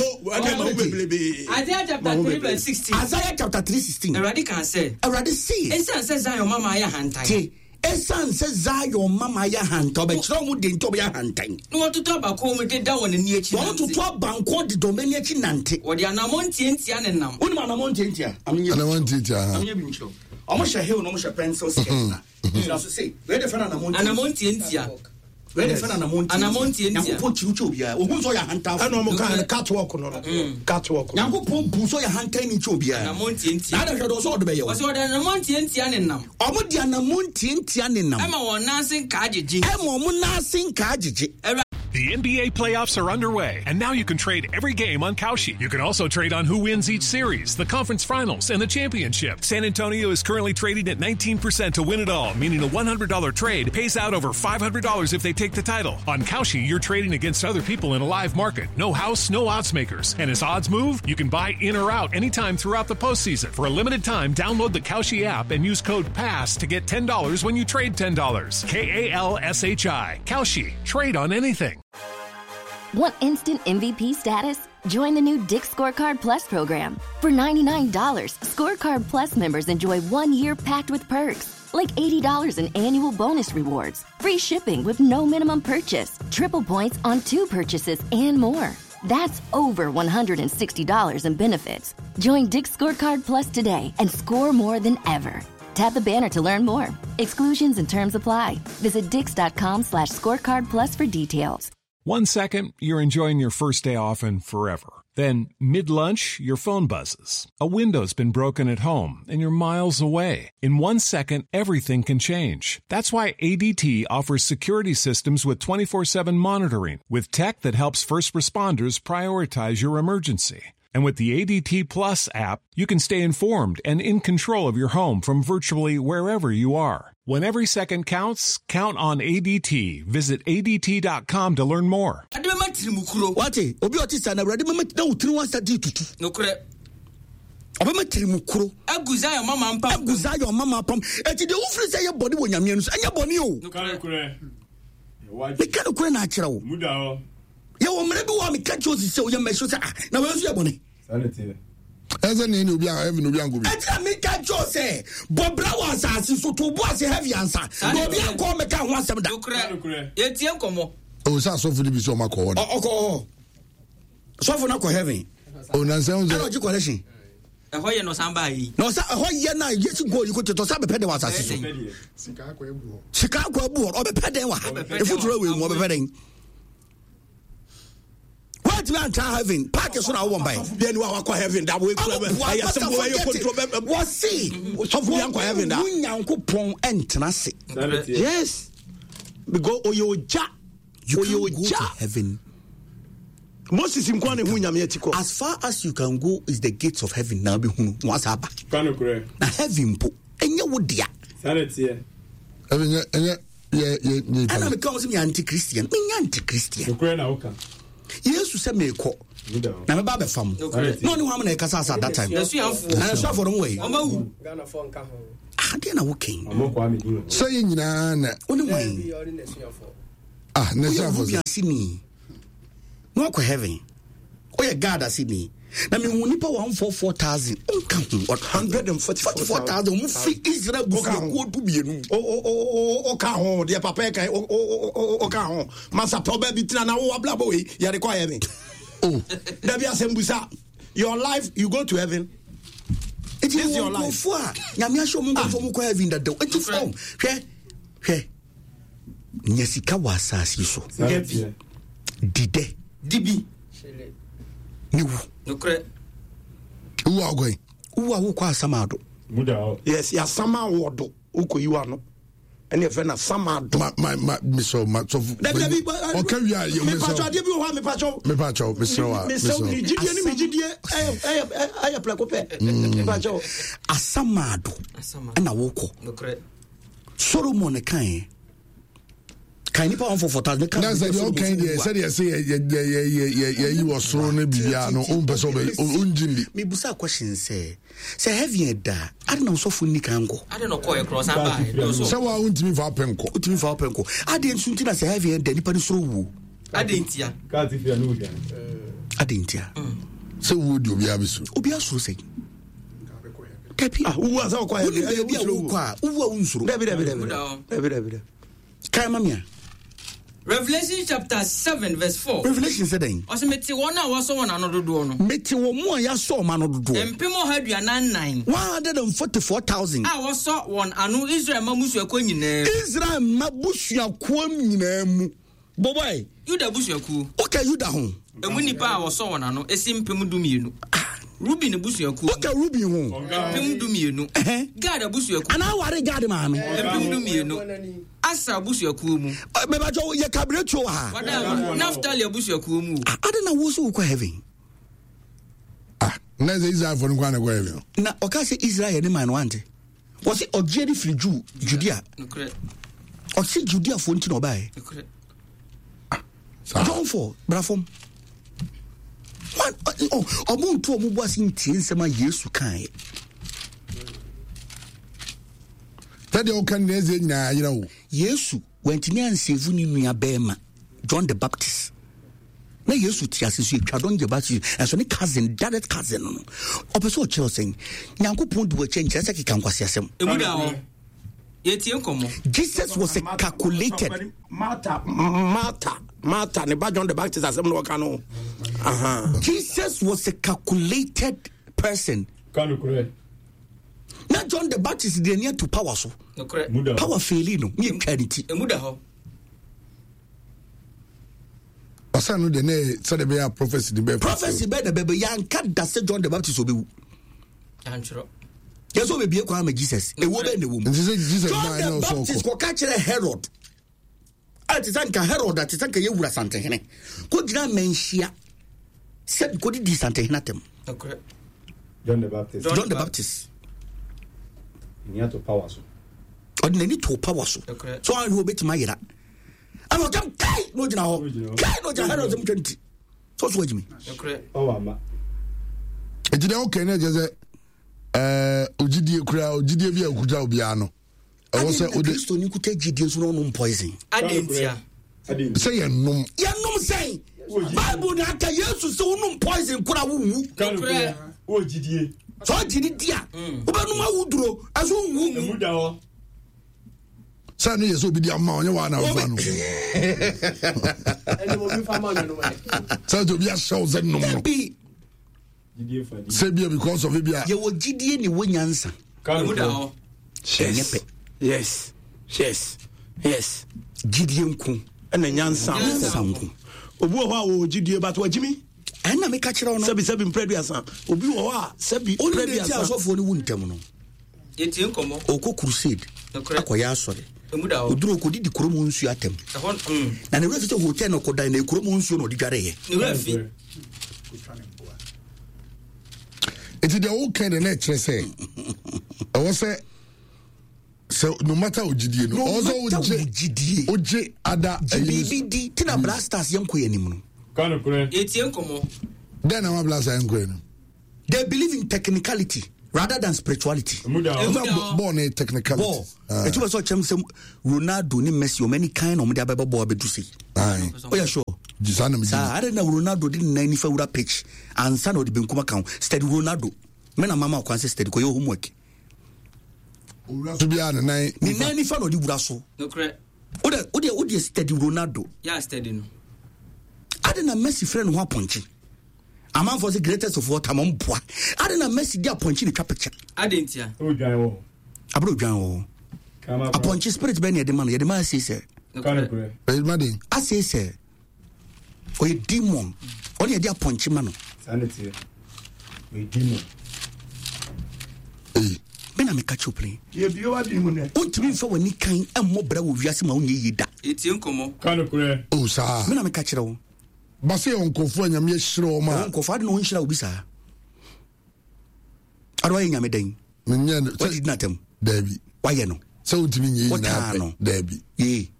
ma wo bebrebe. Isaiah chapter 3 verse 16. Isaiah chapter 3 16. Awurade kan sɛ. Awurade se. Esiane sɛ Zion mama ayɛ ahantan. Tie. Esiane sɛ Zion mama ayɛ ahantan, ɔbɛkyerɛ wɔn deɛ nti ɔbɛyɛ ahantan. Na wɔtoto abankɔn mu deda wɔn ani akyi nante. Wɔtoto abankɔn deda wɔn ani akyi nante. Wɔde anammɔn ntiantia ne nam. Wonim anammɔn ntiantia? Anammɔn ntiantia. Amenyɛ bi nkyerɛ wo. Wɔn hyɛ heel na wɔn hyɛ pencil skirt na. Gyina so sei. Wei de fɛ no anammɔn ntiantia. Anammɔn ntiantia. Wei de fɛ no anammɔn ntiantia. Anammɔn ntiantia. Nyankopɔn kyiri kyɛ obiara. Ohun sɛ ɔyɛ ahantanfo. Ɛna ɔmo kan no catwalk no no. Catwalk. Nyankopɔn bu sɛ ɔyɛ ahantan ni kyɛ obiara. Anammɔn ntiantia. Na adahwɛ dɛ ɔsɛ ɔde bɛyɛ wo. Ɔsɛ ɔde anammɔn ntiantia ne nam. Ɔmo de anammɔn ntiantia ne nam. Ɛma wɔn nan ase nkaa gyegye. Ɛma ɔmo nan ase nkaa gyegye. The NBA playoffs are underway, and now you can trade every game on Kalshi. You can also trade on who wins each series, the conference finals, and the championship. San Antonio is currently trading at 19% to win it all, meaning a $100 trade pays out over $500 if they take the title. On Kalshi, you're trading against other people in a live market. No house, no odds makers. And as odds move, you can buy in or out anytime throughout the postseason. For a limited time, download the Kalshi app and use code PASS to get $10 when you trade $10. K A L S H I. Kalshi. Trade on anything. Want instant MVP status? Join the new Dick's Scorecard Plus program. For $99, Scorecard Plus members enjoy 1 year packed with perks, like $80 in annual bonus rewards, free shipping with no minimum purchase, triple points on 2 purchases, and more. That's over $160 in benefits. Join Dick's Scorecard Plus today and score more than ever. Tap the banner to learn more. Exclusions and terms apply. Visit dix.com/scorecard plus for details. 1 second, you're enjoying your first day off and forever. Then, mid-lunch, your phone buzzes. A window's been broken at home, and you're miles away. In 1 second, everything can change. That's why ADT offers security systems with 24/7 monitoring, with tech that helps first responders prioritize your emergency. And with the ADT Plus app, you can stay informed and in control of your home from virtually wherever you are. When every second counts, count on ADT. Visit ADT.com to learn more. Wate, obi ɔte saa na awurade mama na wo tiri ho asate tutu. Nokorɛ. Ɔbɛma tiri mu kuro. Agu Zion mama mpam. Agu Zion mama pam. Eti deɛ wofiri sɛ yɛ bɔne wɔ Nyame ani so, ɛnyɛ bɔne o. Nokorɛ. Meka nokorɛ na akyerɛ wo. Yɛwɔ mmerɛ bi wɔ a meka kyerɛ wo sisi sɛ woyɛ mmɛhyew sɛ ah na wei nso yɛ bɔne. Ɛsɛ ne ɛne obi a heaven obi ankɔ bi. Ɛti na meka kyerɛ wo sɛ bɔ bra wɔ asase so to bo ase heavy ansa na obi ankɔ mɛka ho asɛm da. Nokorɛ. Yɛtie nkɔmmɔ. O sɛ asɔfo no bi sɛ ɔma kɔ hɔ no. Ɔkɔ hɔ. Sɔfo no akɔ heaven. O nansa ho sɛ. Ɛna ɔgye collection. Ɛhɔ yɛ na ɔsan baa yi. Na ɔsa ɛhɔ yɛ na Yesu goal yi ko tete ɔsa bɛpɛ dɛn wɔ asase so. Sika akɔ abu hɔ. Sika akɔ abu hɔ ɔbɛpɛ dɛn wɔ ha. Efuturo wɔ mu ɔbɛpɛ dɛn. Wɔatumi antra heaven paaki so na awɔ mban. Sɔfo bi ani wa wakɔ heaven da wo ekura bɛ ɛyɛ sɛ wo ɛyɛ control bɛ. Wɔsi sɔfo bi ankɔ heaven da. Wɔn Nyankopɔn ɛntena se. Yes because oyɛ ogya. You can't go to heaven. Moses nko na ehu nyame ati kɔ. As far as you can go is the gates of heaven na abɛhunu na wasa aba. Na heaven mpo ɛnyɛ wo dea. Heaven nyɛ ɛnyɛ yɛ yɛ yɛ. Ɛna meka wo sɛ meyɛ anti-Christian. Menyɛ anti-Christian. Yesu sɛ meekɔ na mɛba abɛfa mo. Na ɔne hwan na ɛkasa asa at that time? Na n'asuafoɔ no ho wɔ yi. Adeɛ na wokɛn. Sɛ yɛ nyinaa na. Wo ne hwan? Ah, ne Woyɛ sɛ Ruby aseni na wakɔ heaven. Woyɛ Gad aseni. Na mehu nipa 144,000 ɔnka ho. 144,000 ɔmo fi Israel busuakuo 12. Ɔka ho deɛ papa yɛ kan ɔka ho masa pɛ ɔbɛ bi tena na wo abrabɔ wei yɛde kɔ heaven. Oh. Dabi asɛm busa your life you go to heaven. Eti This is wɔ your life. nkurɔfoɔ a Nyame ahyɛ ɔmo nkurɔfoɔ ɔmo kɔ heaven dadaw. Eti fam hwɛ hwɛ nya sika wɔ asase so. Di dɛ. Di bi. Ne wu. Nokorɛ. Wu a wokɔ yi. Wu a wokɔ asamado. Yes, yasama wɔ do wokɔ yi wa no. Ɛne ɛfɛ na sama do. Ma ma ma mesɔ ma sɔfo. Dabi dabi. Ɔka wi a yɛ mesɔ. Mepatwɔ adeɛ bi wɔ hɔ a mepatwɔ. Mepatwɔ mesrɛ wa mesrɛ. Me gyidie ne me gyidie ɛyɛ ɛyɛ ɛyɛ prɛko pɛ. Mepatwɔ. Asamado ɛna wokɔ. Nokorɛ. Solomon kan. Kan nipa 144,000 ne ka. Na sɛ deɛ ɔkan deɛ sɛdeɛ sɛ yɛyi wɔ soro ne biribiara no wompɛ sɛ wobɛ wongye ndi. Mebusa question sɛ sɛ heaven ɛda a ade na ɔsɔfo nni kan nkɔ. Ade na ɔkɔɛ korɔ ɔsan baa sɛ wa wontumi mfa wopɛ nkɔ. Wotumi mfa wopɛ nkɔ. Adeɛ nso nti na sɛ heaven ɛda nipa no soro wuo. Ade ntia. Ade ntia. Sɛ wuo di obiara bɛsuro. Obiara suro sɛ. Dabi. Ah, wuwu ansa wokɔ heaven. Wonim baabi a wokɔ a wowu a wonsuro. Dabi dabi dabi. Dabi dabi dabi. Kan ma me a. Revelation chapter 7 verse 4. Revelation sɛ dɛn? Ɔsɛ mete wɔn a wɔasɔ wɔn ano dodoɔ no. Mete wɔn mu a yɛasɔ wɔn ano dodoɔ. 144,000. 144,000. A wɔsɔ wɔn ano Israel mma busuakuo nyinaa mu. Israel mma busuakuo nyinaa mu. Bɔbɔe. Yuda busuakuo. Woka Yuda ho. Emu nnipa a wɔsɔ wɔn ano esi 12,000. Ruben abusuakuo. Woka Ruben ho. 12,000. Gad abusuakuo. Anaa ware Gad maame. 12,000. Aser abusuakuo mu. Mɛbàjɔ yɛ kabiretuo wɔ ha. Wadama Naftali abusuakuo mu. Ade na wo so wokɔ heaven. Ah, na sɛ Israel fo no kwan na kɔ heaven. Na ɔka sɛ Israel yɛ ne man no ante. Wɔsi ɔgye de firi Jew Judea. Ɔsi Judeafoɔ nti na ɔbaeɛ. John 4 bra fam. Ɔmo nto ɔmo bo ase ntie nsɛm a Yesu kaeɛ. Sɛdeɛ woka no ɛsɛ nyinaa ayera o. Yesu wantumi ansevu ne nua bɛrima John the Baptist. Na Yesu te ase so yɛtwa John the Baptist ɛnso ne cousin direct cousin no ɔpɛ sɛ ɔkyerɛ sɛn Nyankopɔn di w'akyi nkyerɛ sɛ keka nkwaseasɛm. Emu da hɔ. Yɛtie nkɔmmɔ. Jesus was a calculated. Martha, Martha, Martha, ne ba John the Baptist asɛm na ɔka no. Jesus was a calculated person. Na John the Baptist de ani ato power so. Power faili no, ne yɛtwa ne ti. Emu da hɔ. Ɔsɛ no de ne sɛde bɛyɛ a prophecy de bɛ. Prophecy bɛɛ na bɛbɛ yanka da sɛ John the Baptist ɔbɛwu. Antwerɛ. Yɛ sɛ ɔbɛbie kwan ama Jesus. Ɛwuo bɛɛ na ɛwɔ mu. Nti sɛ Jesus John the Baptist kɔka kyerɛ Herod. A te sɛ nka Herod a te sɛ nka yɛwura Santehene. Kɔgyina manhyia sɛ kɔdidi Santehene atɛm. John the Baptist. John the Baptist. Ɔde n'ani to power so. So ahwɛ obɛtumi ayera. Ɛna ɔgyam kai na ɔgyina hɔ. Kai na ɔgyina Herod sɛ mutwa ne ti. So so agyimi. Nti deɛ wokɛ no ɛkyɛ sɛ ogyidie koraa ogyidie bi a okuta obiara no ɛwɔ sɛ wode kristo ni kuta gyidie nso na ɔnom poison. Sɛ yɛnom yɛnom sɛn bible na aka yesu sɛ wonom poison kora wonwu sɛ ɔgye ne di a wobɛnom awoduro ɛso wonwu sɛ no yɛ sɛ obi di ama ɔnyɛ waa na wofa no sɛ sɛ obi ahyɛ wo sɛ nom no sɛ bia because of bia yɛwɔ gyidie ne wɔ nyansa ɛnyɛ pɛ yes yes yes gyidie nko ɛna nyansa nyansa nko obi wɔ hɔ a wɔwɔ gyidie but wagyimi ɛna meka kyerɛ wo no sɛbi sɛbi mprɛduasa obi wɔ hɔ a sɛbi mprɛduasa asɔfoɔ no wu ntɛm no Yɛtie nkɔmmɔ. Ɔkɔ crusade akɔyɛ asɔre. Ɔduru ɔkɔdidi kurom hɔ nsuo atɛm. Na ne werɛ fi sɛ hotel na ɔkɔdan na kurom hɔ nsuo na ɔde dwareeɛ. Ne werɛ fi. Nti deɛ woka deɛ na ɛkyerɛ sɛ ɛwɔ sɛ sɛ no matter ogyidie no ɔwɔ sɛ wogye wogye ada gye biribi di ti na blasters yɛnkɔ yɛn anim no. Yɛtie nkɔmmɔ. Dɛn na ma blasters yɛnkɔ yɛn anim. They believe in technicality rather than spirituality. Ball ne technicality. Ball. Etu bɛ sɛ ɔkyɛm sɛ Ronaldo ne Messi ɔmo ani kan na ɔmo de abɛbɔ bɔɔl abɛdu se. Oyɛ sure. Saa ade na Ronaldo de ne nan nifa wura pitch ansa na ɔde benkum aka ho. Steady Ronaldo. Mɛ na mama ɔkwan sɛ steady kɔyɛ homework. Owura so biara ne nan. Ne nan nifa na ɔde wura so. Nokorɛ. Wode wode wode steady Ronaldo. Yeah steady no. Ade na Messi frɛ ne ho apɔnkye. Amanfoɔ sɛ greatest of all time ɔmboa. Ade na Messi di apɔnkye ne twa picture. Ade ntia. Odwan wɔ. Abere odwan wɔ. Apɔnkye spirit bɛn na yɛde ma no yɛde ma ase sɛ. Ase sɛ ɔyɛ demon ɔne yɛde apɔnkye ma no. Saa ne teɛ. Ɔyɛ demon. Me na meka kyerɛ plen. Wontumi mfa w'ani kan mmɔ bra wɔ wiase ma wonyɛ yie da. Yɛtie nkɔmmɔ. Ka nokorɛ. O saa. Me na meka kyerɛ wo. Ba sɛ yɛwɔ nkurɔfoɔ a Nyame ahyira wɔn a. Yɛwɔ nkurɔfoɔ ade na ɔnhyira obi saa. Ade wayɛ Nyame dɛn? Menyɛ no. Wadi di n'atam. Daabi. Wayɛ no. Sɛ wontumi nyɛ nyinaa pɛ. Daabi. Yee.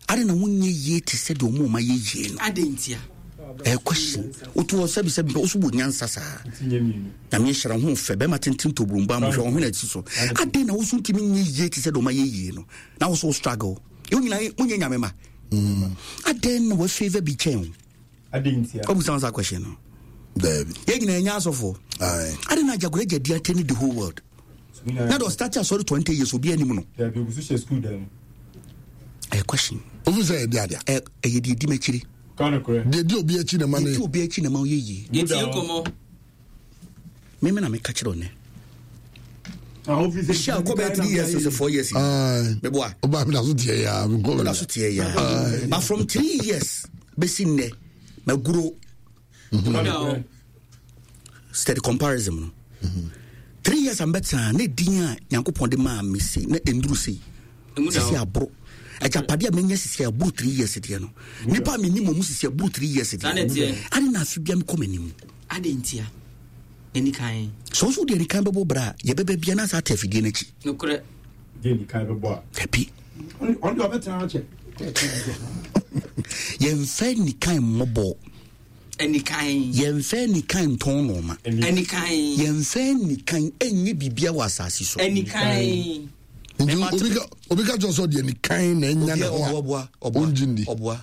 Ade na wonyɛ yie te sɛ deɛ ɔmo ɔma yɛ yie no. Adɛn ntia? Ɛyɛ question. Woto hɔ sɛbi sɛbi woso wɔ nyansa saa. Nyame nhyira ho fɛ bɛma tenten toburumba mo hwɛ ɔhwene ati so. Adɛn na woso ntumi nyɛ yie te sɛ deɛ ɔma yɛ yie no. Na woso struggle. Yɛn nyinaa monyɛ nyame ma. Adɛn na wa favor bi kyɛn wo? Wabusa wo saa question no. Daabi. Yɛn nyinaa yɛnyɛ asɔfoɔ. Adɛn na Agyagora Gyadi atɛne the whole world? Na deɛ ɔstarte asɔre 20 years obi anim no. Ɛyɛ question. Ofi sɛ ɛdi adeɛ. Ɛyɛ deɛ di m'akyiri. Deɛ di obi akyi na ma no. Deɛ di obi akyi na ma ɔyɛ yie. Yɛtie nkɔmmɔ. Mímí na meka kyerɛ ɔnɛ. Mehyia akɔ bɛyɛ 3 years or 4 years. Meboa. Ɔba mi na so teɛ yaa. Meda so teɛ yaa. But from 3 years bɛsi nnɛ maguro. Steady comparison no. 3 years ambɛtena na edin a Nyankopɔn de maa me sei na enduru sei. Sisi aboro. Agyapadeɛ a menya sisi aboro 3 years deɛ no. Nipa a menim ɔmo sisi aboro 3 years deɛ. Ade na afe bia mekɔ m'anim. Ade ntia. N'ani kan. Sɛ ɔso deɛ nikan bɛbɔ bra a yɛbɛbɛ bia na saa ate afidie no akyi. Nokorɛ. Deɛ nikan bɛbɔ a. Dabi. Ɔno deɛ ɔbɛtena akyɛ. Yɛmfa nikan mmɔbɔ. Anikan. Yɛmfa anikan ntɔn nnoɔma. Anikan. Yɛmfa anikan ɛnyɛ biribia wɔ asase so. Anikan. Nti obi ka obi ka kyerɛ sɛ ɔde anikan na anya ne ho a ɔngye ndi. Ɔboa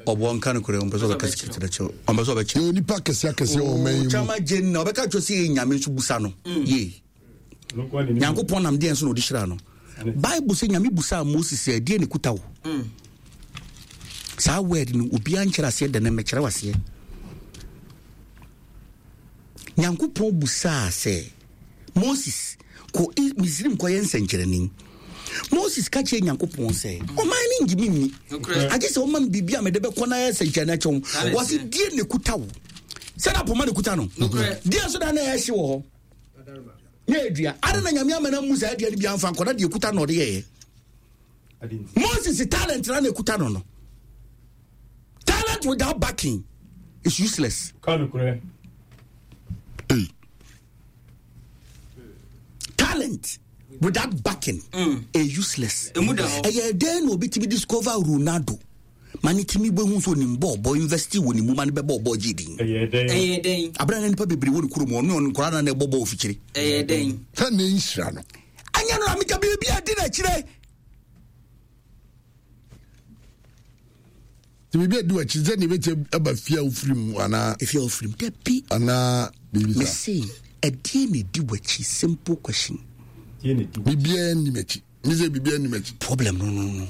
ɔboa nka no korɛ ɔmpɛ sɛ ɔbɛka sikitira kyerɛ ɔmpɛ sɛ ɔbɛkyerɛ. Yɛ onipa kɛseɛ akɛseɛ wɔ ɔman yi mu. Chama Jane na ɔbɛka kyerɛ sɛ yɛ nyame nso busa no yie. Nyankopɔn nam deɛ nso na ɔde hyira no. Bible sɛ nyame busaa Moses sɛ ɛdeɛ ne kuta wo. Saa word no obiara nkyerɛ aseɛ dɛnɛ mɛkyerɛ wo aseɛ. Nyankopɔn busaa sɛ, Moses, kɔ Misraim kɔyɛ nsɛnkyerɛnne. Moses ka kyerɛ Nyankopɔn sɛ, ɔman no ngye me nni. Agye sɛ ɔma me biribi a mede bɛkɔ na ayɛ nsɛnkyerɛnne akyɛ wo. Wɔse, die na ɛkuta wo. Sɛ na poma na ɛkuta no. Deɛ nso da na ɛyɛ hye wɔ hɔ. Na ɛdua. Ade na Nyame ama no ammu saa dua no bi amfa nkɔ na deɛ ɛkuta no ɔde yɛɛ. Moses talent na na ɛkuta no no. Talent without backing is useless. Hey. Talent without backing is useless. Ɛyɛ dɛn na obi tumi discover Ronaldo ma ne tumi bɛhu sɛ onim bɔɔl bɔ investi wɔ ne mu ma ne bɛ bɔɔl bɔɔl gye din. Ɛyɛ dɛn? Abira na nipa bebree wɔ ne kurom ɔne ɔne nkwadaa na na ɛbɔ bɔɔl fikyire. Ɛyɛ dɛn? Sɛ ne nhyira no. Anyɛ no na meka biribi a di n'akyire. Nti biribi adi w'akyi sɛ ne bɛti aba fie a wofiri mu anaa. Efie a wofiri mu dabi. Anaa biribi saa. Mese ɛdeɛ na edi w'akyi simple question. Biribiara nni m'akyi. Mi sɛ biribiara nni m'akyi. Problem no no no.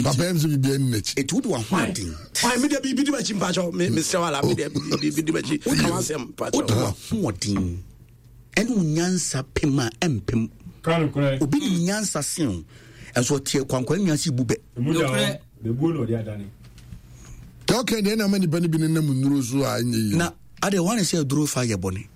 Papa yɛm sɛ biribiara nni n'akyi. Eti wode w'ahoɔden. Why me deɛ biribi di m'akyi mpakyɛw me mesrɛ wala me deɛ biribi di m'akyi ka w'asɛm mpakyɛw. Wode w'ahoɔden ɛne wo nyansa pem a ɛmpem. Obi nim nyansa sen wo ɛnso ɔte kwankwan nwa se bu bɛ. Deɛ ɔka deɛ na ama nipa no bi nenam nnuro so a ɛnyɛ yie. Na adeɛ wɔn sɛ aduro fa yɛ bɔne.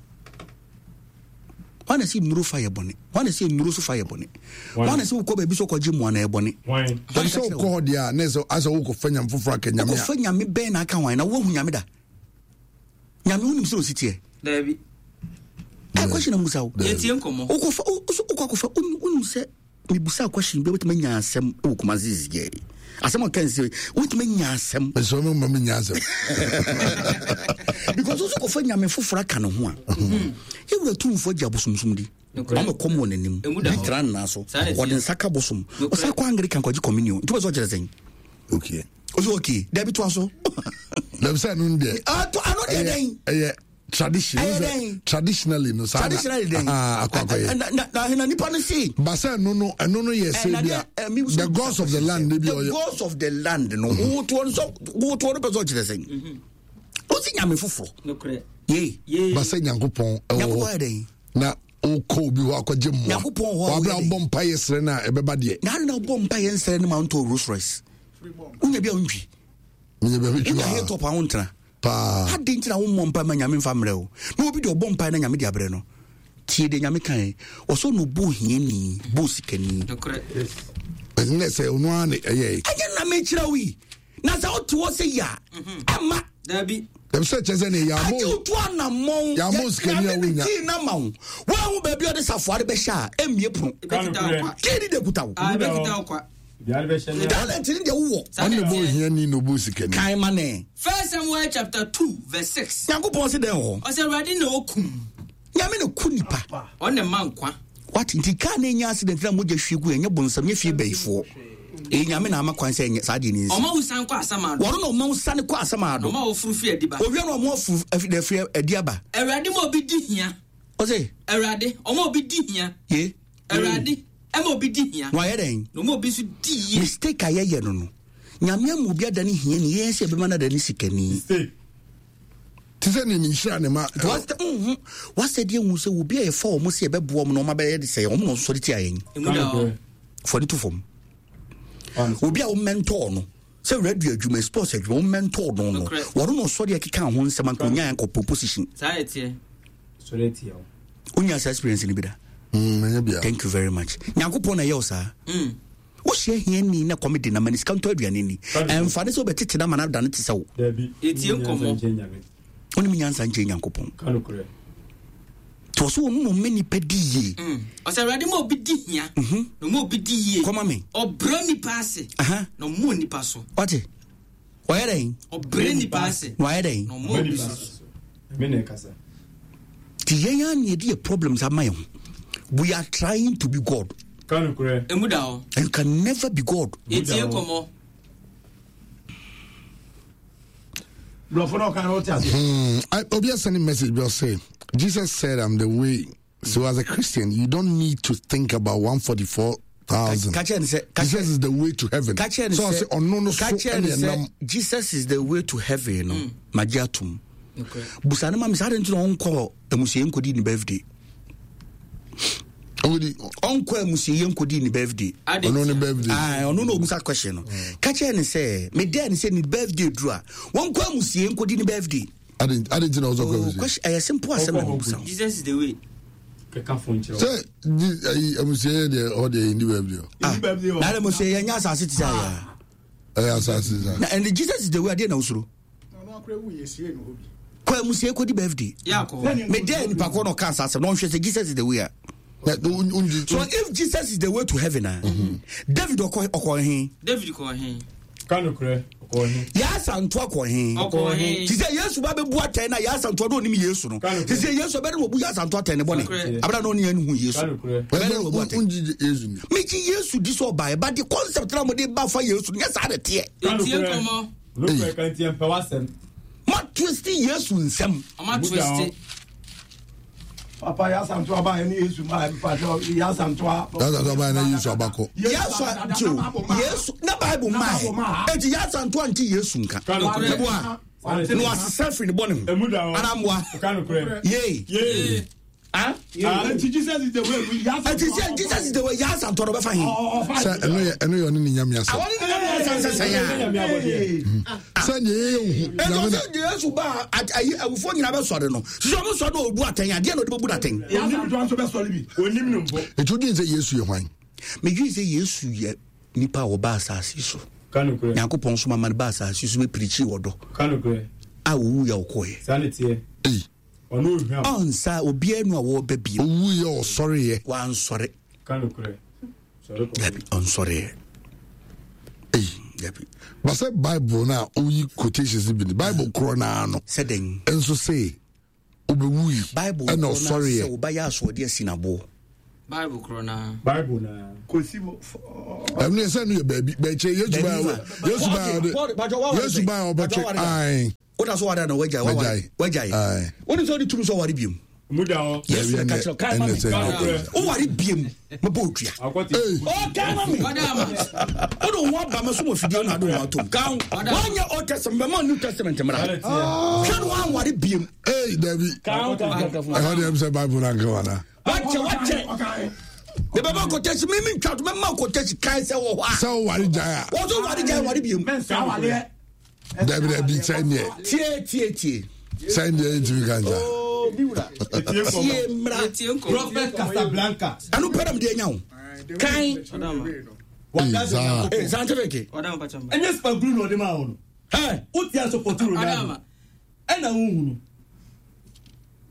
Wɔn sɛ nnuro fa yɛ bɔne. Wɔn sɛ nnuro so fa yɛ bɔne. Wɔn sɛ wokɔ baabi so kɔgye mmoa na ɛyɛ bɔne. Wɔn sɛ wokɔ hɔ deɛ a na ɛsɛ asɛ wokɔ fa nyame foforɔ aka nyame a. Wokɔ fa nyame bɛn na aka wɔn na woahu nyame da. Nyame wonim sɛ osi teɛ. Daabi. Ɛ question na musa wo. Yɛtie nkɔmmɔ. Wokɔ fa wokɔ akɔfa wonim sɛ mebusa question bi wobɛtumi anya asɛm wɔ Kumasi sisiɛ asɛm ɔka nsɛ wobɛtumi anya asɛm. Mesɛ mo ma menya asɛm. Because wo so kɔfa nyame foforɔ aka ne ho a yɛwura tumfoɔ gye abosomsom di. Ɔma kɔm wɔ n'anim bi tra nna so wɔde nsa ka bosom ɔsa kɔ Anglican kɔgye communion nti wɔ sɛ ɔkyerɛ sɛn. Okay. Ɔsɛ okay dabi toa so. Dabi sɛ ɛno deɛ. Ano deɛ dɛn. Ɛyɛ tradition. Ɛyɛ dɛn. Traditionally no saa na. Traditionally dɛn. Akɔ akɔyɛ. Na na nipa no se. Basa ɛno no ɛno no yɛ sɛ bi a the gods of the land ne bi ɔyɛ. The gods of the land no wotoɔ no sɛ wotoɔ no pɛ sɛ ɔkyerɛ sɛn. Ɔsi nyame foforɔ. Yee. Basa Nyankopɔn ɛwɔ hɔ. Nyankopɔn yɛ dɛn. Na wokɔ obi hɔ akɔgye mmoa. Nyankopɔn hɔ a Wabra wobɔ mpa yɛ srɛ no a ɛbɛba deɛ. Na na wobɔ mpa yɛ nsrɛ no ma wontɔ Rolls Royce. Wonya bi a wontwi. Wonya bi a wontwi. Wonya hilltop a wontena. Paa. Adɛn nti na wommɔ mpa ma Nyame mfa mmerɛ wo? Na obi deɛ ɔbɔ mpa na Nyame de abrɛ no. Tie deɛ Nyame kae. Ɔsɛ ɔno ɔbɔ ohiani, bɔ osikani. Ɛnɛ sɛ ɔno ara na ɛyɛ. Ɛnyɛ na mekyerɛ wo yi. Na sɛ wote hɔ sɛ yi a, ɛmma. Dabi. Dabi sɛ kyerɛ sɛ ne yɛamɔ. Agye wotu anammɔn. Yɛamɔ sikani a wonya. Nyame de na ma wo. Woahu baabi a ɔde safoa de bɛhyɛ a, ɛmmie pono. Kii ne de kuta wo. Ɛbɛkita wo kwa. Talent ne deɛ wowɔ. Ɔne bɔ ohiani na ɔbɔ osikani. Kan ma ne. First Samuel chapter 2 verse 6. Nyankopɔn se dɛn wɔ hɔ? Ɔsɛ Awurade na okum. Nyame na ku nipa. Ɔne ma nkwa. Wate nti kaa na enya accident na mogya hwie gu ɛnyɛ bonsam nyɛ fie bayifoɔ. Ɛyɛ Nyame na ama kwan sɛ ɛnyɛ saa deɛ ne nsi. Ɔma wo san kɔ asamaado. Wɔno na ɔma wo sane kɔ asamaado. Ɔma wo foro firi adi ba. Owia na ɔma afuru afiri adi aba. Awurade ma obi di hia. Ɔse. Awurade ɔma obi di hia. Ye. Awurade ɛma obi di hia. Na wayɛ dɛn? Na ɔma obi nso di yie. Mistake a yɛyɛ no no, Nyame ama obi adane hiani, yɛn sɛ yɛbɛma no adane sikani. Mistake. Te sɛ nea ne nhyira ne ma. Wasɛ deɛ hu sɛ obi a yɛfa wɔn sɛ yɛbɛboa wɔn na wɔn abɛyɛ de sɛ wɔn na wɔsɔre tia yɛn. Fɔ ne to fam. Obi a wɔn mɛntɔɔ no sɛ radio adwuma sports adwuma wɔn mɛntɔɔ no no wɔn na ɔsɔre ɛkeka ho nsɛm anka onya yɛn position. Saa ɛteɛ. Wonya saa experience no bi da? Mm, Thank you very much. Nyankopɔn na ɛyɛ wo saa. Mm. Wohyia hiani na kɔm de na ma ne sika ntɔ aduane ni. Ɛmfa ne sɛ wobɛtete no ama no adane te sɛ wo. Wonim nyansa nkyɛn Nyankopɔn. Nti ɔsɛ wɔn na ɔma nipa di yie. Mm. Ɔsɛ Awurade ma obi di hia. Mhm. Na ɔma obi di yie. Kɔma me. Ɔbrɛ nipa ase. Na ɔma nipa so. Wate? Ɔyɛ dɛn? Ɔbrɛ nipa ase. Na wayɛ dɛn? Na ɔma obi so. Ti yɛn a na yɛde yɛ problems ama yɛn ho. We are trying to be God. Emu da hɔ. And you can never be God. Etie nkɔmɔ. Obi sending message bi ɔsɛ Jesus said I'm the way. So as a Christian, you don't need to think about 144,000. Jesus is the way to heaven. So I say, oh no, no, so Jesus is the way to heaven. No, mm. magye atom. Busane ma me saa de nti na ɔnkɔ amusie nkɔdi ne birthday. ɔnkɔ amusie nkɔdi ne birthday. Ɔno ne birthday. Ah, ɔno na ɔbusa question no. Mm. Ka kyerɛ ne sɛ, medɛɛ ne sɛ ne birthday duru a, wɔnkɔ amusie nkɔdi ne birthday. Adi nti na ɔsɔ kɔ amusie. Question ɛyɛ simple asɛm na mebusa wo. Jesus is the way. Sɛ ayi amusie yɛ deɛ ɔhɔ deɛ yɛndi birthday o. Ah, na amusie yɛ nyɛ asase ti sɛ ayɛ. Ɛyɛ asase sa. Na and Jesus is the way adeɛ na osuro. Kɔ amusie kɔ di birthday. Me dɛ nipa kɔ na ɔka asase na ɔnhwɛ sɛ Jesus is the way a. So if Jesus is the way to heaven ah, mm-hmm. David ɔkɔ ɔkɔ he. David kɔ he. Kanokorɛ ɔkɔ he. Yaasa ntoa kɔ he. Ɔkɔ he. Ti sɛ Yesu ba bɛ bu atɛn na yaasa ntoa n'onim Yesu no. Ti sɛ Yesu ɛbɛ de wɔbu yaasa ntoa atɛn ne bɔne. Abira n'o ni yɛn hu Yesu. Ɛbɛ de wɔbu atɛn. Mi gye Yesu di sɛ ɔba ɛba di concept na mo de ba fa Yesu nyɛ saa de teɛ. Etie nkɔmɔ. Nokorɛ ka nti ɛmpɛ w'asɛm. Ma twist Yesu nsɛm. Ɔma twist. Papa yasantoa ba ɛne Yesu ma mpatsɔ yasantoa. Yasantoa ba ɛne Yesu abakɔ. Yesu nti o Yesu na Bible maa yɛ eti yasantoa nti Yesu nka. Ɛboa na wasesa firi ne bɔ ne ho. Anamboa yee. Ah? Nti Jesus is the way. Nti sɛ Jesus is the way yaasa ntɔ no bɛfa he. Sɛ ɛno yɛ ɛno yɛ ɔne ne nyame asɛm. Awɔ ne ne nyame asɛm sɛ sɛ ya. Sɛ nyɛ yɛ hu. Ɛnti ɔsɛ Yesu ba ayi awufoɔ nyinaa bɛ sɔre no. Sisi ɔmo sɔre na ɔbu atɛn adeɛ na ɔde bɛ bu n'atɛn. Onim dwa nso bɛ sɔre bi. Onim no mpo. Nti o dwen sɛ Yesu yɛ hwan? Medwen sɛ Yesu yɛ nipa a ɔba asase so. Nyankopɔn soma ma no ba asase so bɛ pirikyi ɔdɔ. A owu yɛ ɔkɔɛ. Saa ne teɛ. Ɔnsa obiara nu a wɔreba bio. Owuiɛ ɔsɔreɛ. Wansɔre. Dabi ɔnsɔreɛ. Dabi. Basɛ Bible no a oyi quotations bi no Bible korɔ naa no. Sɛ dɛn. Nso se obewui. Bible ɛna ɔsɔreɛ. Sɛ wobayɛ asoɔde asi n'aboɔ. Bible korɔ naa. Bible naa. Kosi. Ɛnu yɛ sɛ ɛnu yɛ baabi bɛkyɛ Yesu baa Yesu baa ɔde Yesu baa ɔbɛtwe ayi. Woda so ware ana wagyae? Waware. Wagyae. Wonim sɛ wode tumi sɛ ɔware biom. Yesu na ka kyerɛ kae ma me. Woware biom mɛbɔ odua. Ɔkae ma me. Wode wo ho aba me so wɔ fidie na ade wo ho atom. Ka ho. Woanyɛ Old Testament bɛma New Testament mmara. Hwɛ no woanware biom. Ei, dabi. Ɛhɔ deɛ sɛ Bible no anka wana. Wakyɛ wakyɛ. Mebɛma kɔtɛsi mimi ntwa to mɛma kɔtɛsi kae sɛ wɔ hɔ a. Sɛ woware gyae a. Wɔn so ware gyae ware biom. Dabi dabi sɛ neɛ. Tie tie tie. Sɛ neɛ ntumi ka nsa. Oh, mi wura. Tie mmra. Prophet Casablanca. Ɛno pɛ na mede anya wo. Kan. Scientific. Ɛnyɛ spagulu na ɔde maa wo no. Wotia sɔpɔtu Ronaldo. Ɛna wohunu.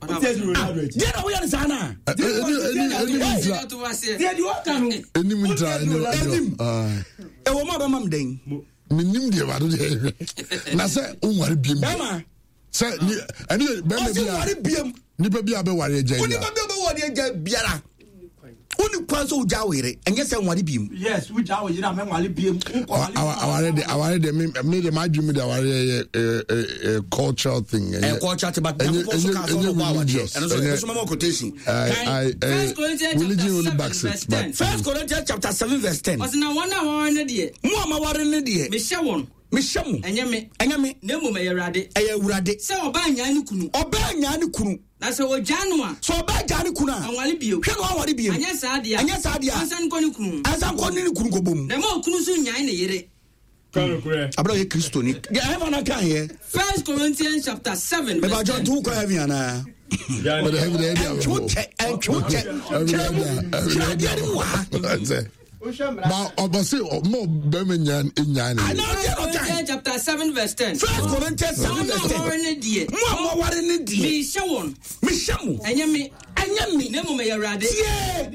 Deɛ na woyɛ no saa naa. Enim ntra. Enim ntra. Enim. Ɛwɔ mu a bɛma me dɛn? Menim deɛ wade deɛ ɛhwɛ. Na sɛ wonware biem. Bɛma. Sɛ ɛne bɛma bi a. biem. Nipa bi a bɛware agya biara. Nipa bi a bɛware agya biara. Woni kwan sɛ wogya wo yere ɛnyɛ sɛ nware biem. Yes, wogya wo yere a mɛnware biem. Aware de aware de me me de m'adwene mu de aware yɛ ɛ cultural thing. Ɛ cultural thing but Nyankopɔn so ka sɛ ɔbɔ awadeɛ ɛno so ɛno so mɛma quotation. First Corinthians religion only chapter backs 7 it. verse But 10. First Corinthians chapter 7 verse 10. Ɔsɛ na wɔn a wɔware no deɛ. Mo a maware no deɛ. Mehyɛ wɔn. Mehyɛ mo. Ɛnyɛ me. Ɛnyɛ me. Na mmom ɛyɛ Awurade. Ɛyɛ Awurade. Sɛ ɔbaa nyaa ne kunu. Ɔbaa nyaa ne kunu. Na sɛ ɔgyaa no a. Sɛ ɔbaa gyaa ne kunu a. Ɔnware bio. Hwɛ na wanware bio. Anyɛ saa deɛ a. Anyɛ saa deɛ a. Ɔnsan nkɔ ne kunu. Ansan nkɔ ne ne kunu nkɔbɔ mu. Na mma okunu nso nnyae ne yere. Abira ɔyɛ Kristoni. Deɛ ɛhefa na kan yɛ. First Corinthians chapter 7 verse Mɛba 10. John tu kɔ heaven anaa? Ɛntwe kyɛ, ɛntwe kyɛ. Kyerɛ mu, kyerɛ adeɛ ne mu wɔ ha. Ba ɔbɔ se ɔmo bɛrima nyaa nyaa ne. Ana ɔdeɛ na ɔkan. Corinthians chapter 7 verse 10. First Corinthians 7 verse 10. Wɔn a wɔware no deɛ. Mo a moware no deɛ. Mehyɛ wɔn. Mehyɛ mo. Ɛnyɛ me. Ɛnyɛ me. Na mmom ɛyɛ Awurade. Tie.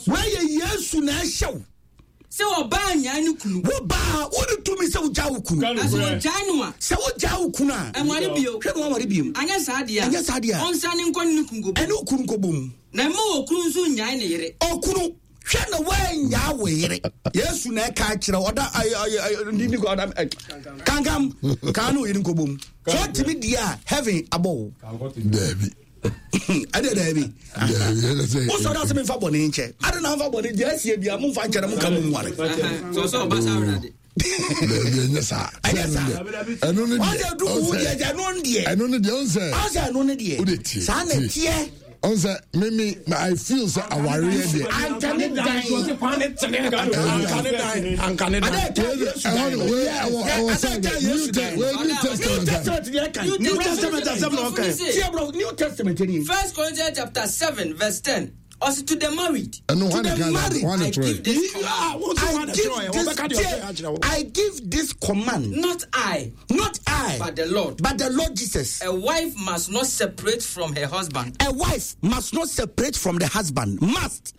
Wei yɛ Yesu na ɛhyɛ wo. Sɛ ɔbaa nyaa ne kunu. Wo baa wode tumi sɛ wogyaa wo kunu. Na sɛ ɔgyaa no a. Sɛ wogyaa wo kunu a. Ɛnware bio. Hwɛ na wanware bio. Anyɛ saa deɛ a. Anyɛ saa deɛ a. Ɔnsane nkɔ ne ne kunu nkɔbɔ mu. Ɛne okunu nkɔbɔ mu. Na mma okunu nso nnyae ne yere. Okunu, hwɛ na woannyaa wo yere. Yesu na ɛka akyerɛ ɔda ɔda kankam kaa ne oyere nkɔbɔ mu. Sɛ ɔtumi deɛ a heaven abɔ wo. Daabi. Ɛdeɛ daabi. Wosɔ dɛ sɛ memfa bɔne nkyɛ. Ade na mfa bɔne deɛ asie bia momfa nkyɛ na monka mo nware. Sɛ ɔsɛ ɔba saa awurade. Daabi ɛnyɛ saa. Ɛnyɛ saa. Ɛno ne deɛ. Ɔsɛ du wo deɛ ɛno ne deɛ. Ɛno ne deɛ ɔnsɛ. Ɔsɛ ɛno ne deɛ. Wode tie. Saa na ɛteɛ. Ɔnsɛ mimi I feel sɛ awareɛ deɛ. Ankane dan. Ankane dan. Ɛwɔ sɛ New Testament. New Testament asɛm na ɔka. New Testament ni. First Corinthians chapter 7 verse 10. Ɔsɛ to the married. Ɛno To the married, hwan I give this I give this, I give this command. Not I. Not I. But the Lord. But the Lord Jesus. A wife must not separate from her husband. A wife must not separate from the husband. Must.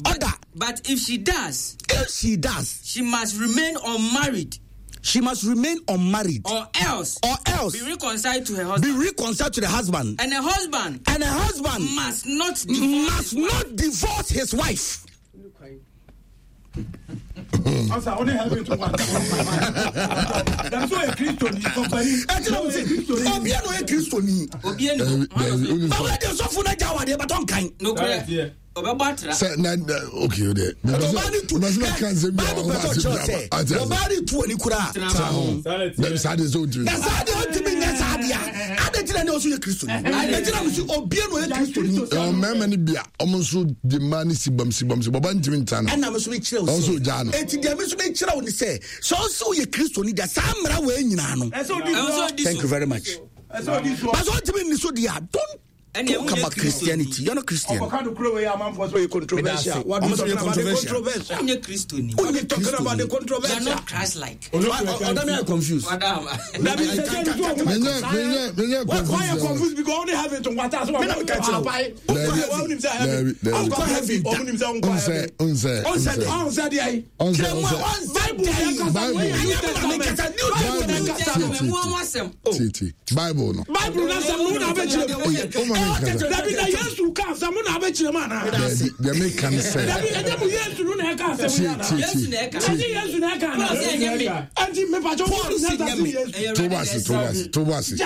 Order. But if she does. If she does. She must remain unmarried. She must remain unmarried. Or else. Or else. Be reconciled to her husband. Be reconciled to the husband. And her husband. And her husband. Must not divorce. Must not divorce his wife. Ɔsa ɔne heaven to wa. Dɛm so yɛ Kristoni kɔmpani. Ɛgyina mo se obia na ɔyɛ Kristoni. Obia ni. Bàbá yɛ de sɔfo na gya awadeɛ bàtɔ nkan. Nokorɛ ɔbɛbɔ atra. Sɛ na okay o deɛ. Ɔbaa ni tu baabu pɛ sɛ ɔkyerɛ sɛ ɔbaa ni tu oni kura. Tra ho. Dɛm saa de sɛ otumi. Na saa de otumi nyɛ saa de a adi gyina ne ɔso yɛ Kristoni. Ɛgyina mo se obia na ɔyɛ Kristoni. Mmarima ni bia ɔmo nso de mmaa ni sibam sibam sibam ɔba ntumi ntra no. Ɛna mi nso mi kyerɛ o sɛ. Ɔnso gyaa no. Eti deɛ mi nso mi kyerɛ o ni sɛ sɛ ɔsɛ ɔyɛ Kristoni deɛ saa mmara wɔ nyinaa no. Thank you very much. But sɛ ɔntumi ni so deɛ a don't talk about Christianity. You're not Christian. Controversial. What Almost controversial. Onye Kristoni. Onye talking about the Kristoni. You are controversial. not Christ-like. Ọ̀dà mi are confused. Menyɛ menyɛ menyɛ Why you confused. confused because only heaven to water so Me na me ka kyerɛ wo. Dabi dabi. Ɔnkɔ heaven. Ɔmo nim sɛ ɔnkɔ Nsɛ heaven. nsɛ Ɔnsɛ nsɛ. ɔnsɛ deɛ yi. Ɔnsɛ Kyerɛ mu a ɔnsɛ. ɔnsɛ deɛ yi. Bible. Ɛnyɛ mi na mi kasa New Testament kasa. Tie tie Bible no. Bible na sɛm no wo na abɛkyerɛ mu. O ma mi kasa. Dabi na Yesu ka asɛm wo na abɛkyerɛ mu anaa? Dabi deɛ mi ka ne sɛ. Dabi ɛnyɛ mo Yesu no na ɛka asɛm yi Tie anaa? tie Yesu na tie. ɛka. Ɛnyɛ Yesu na ɛka anaa? Paul sɛ ɛnyɛ me. Ɛnti mepatwa Paul wo sɛ na ɛnyɛ me. Yesu. Tobo ase tobo ase tobo ase.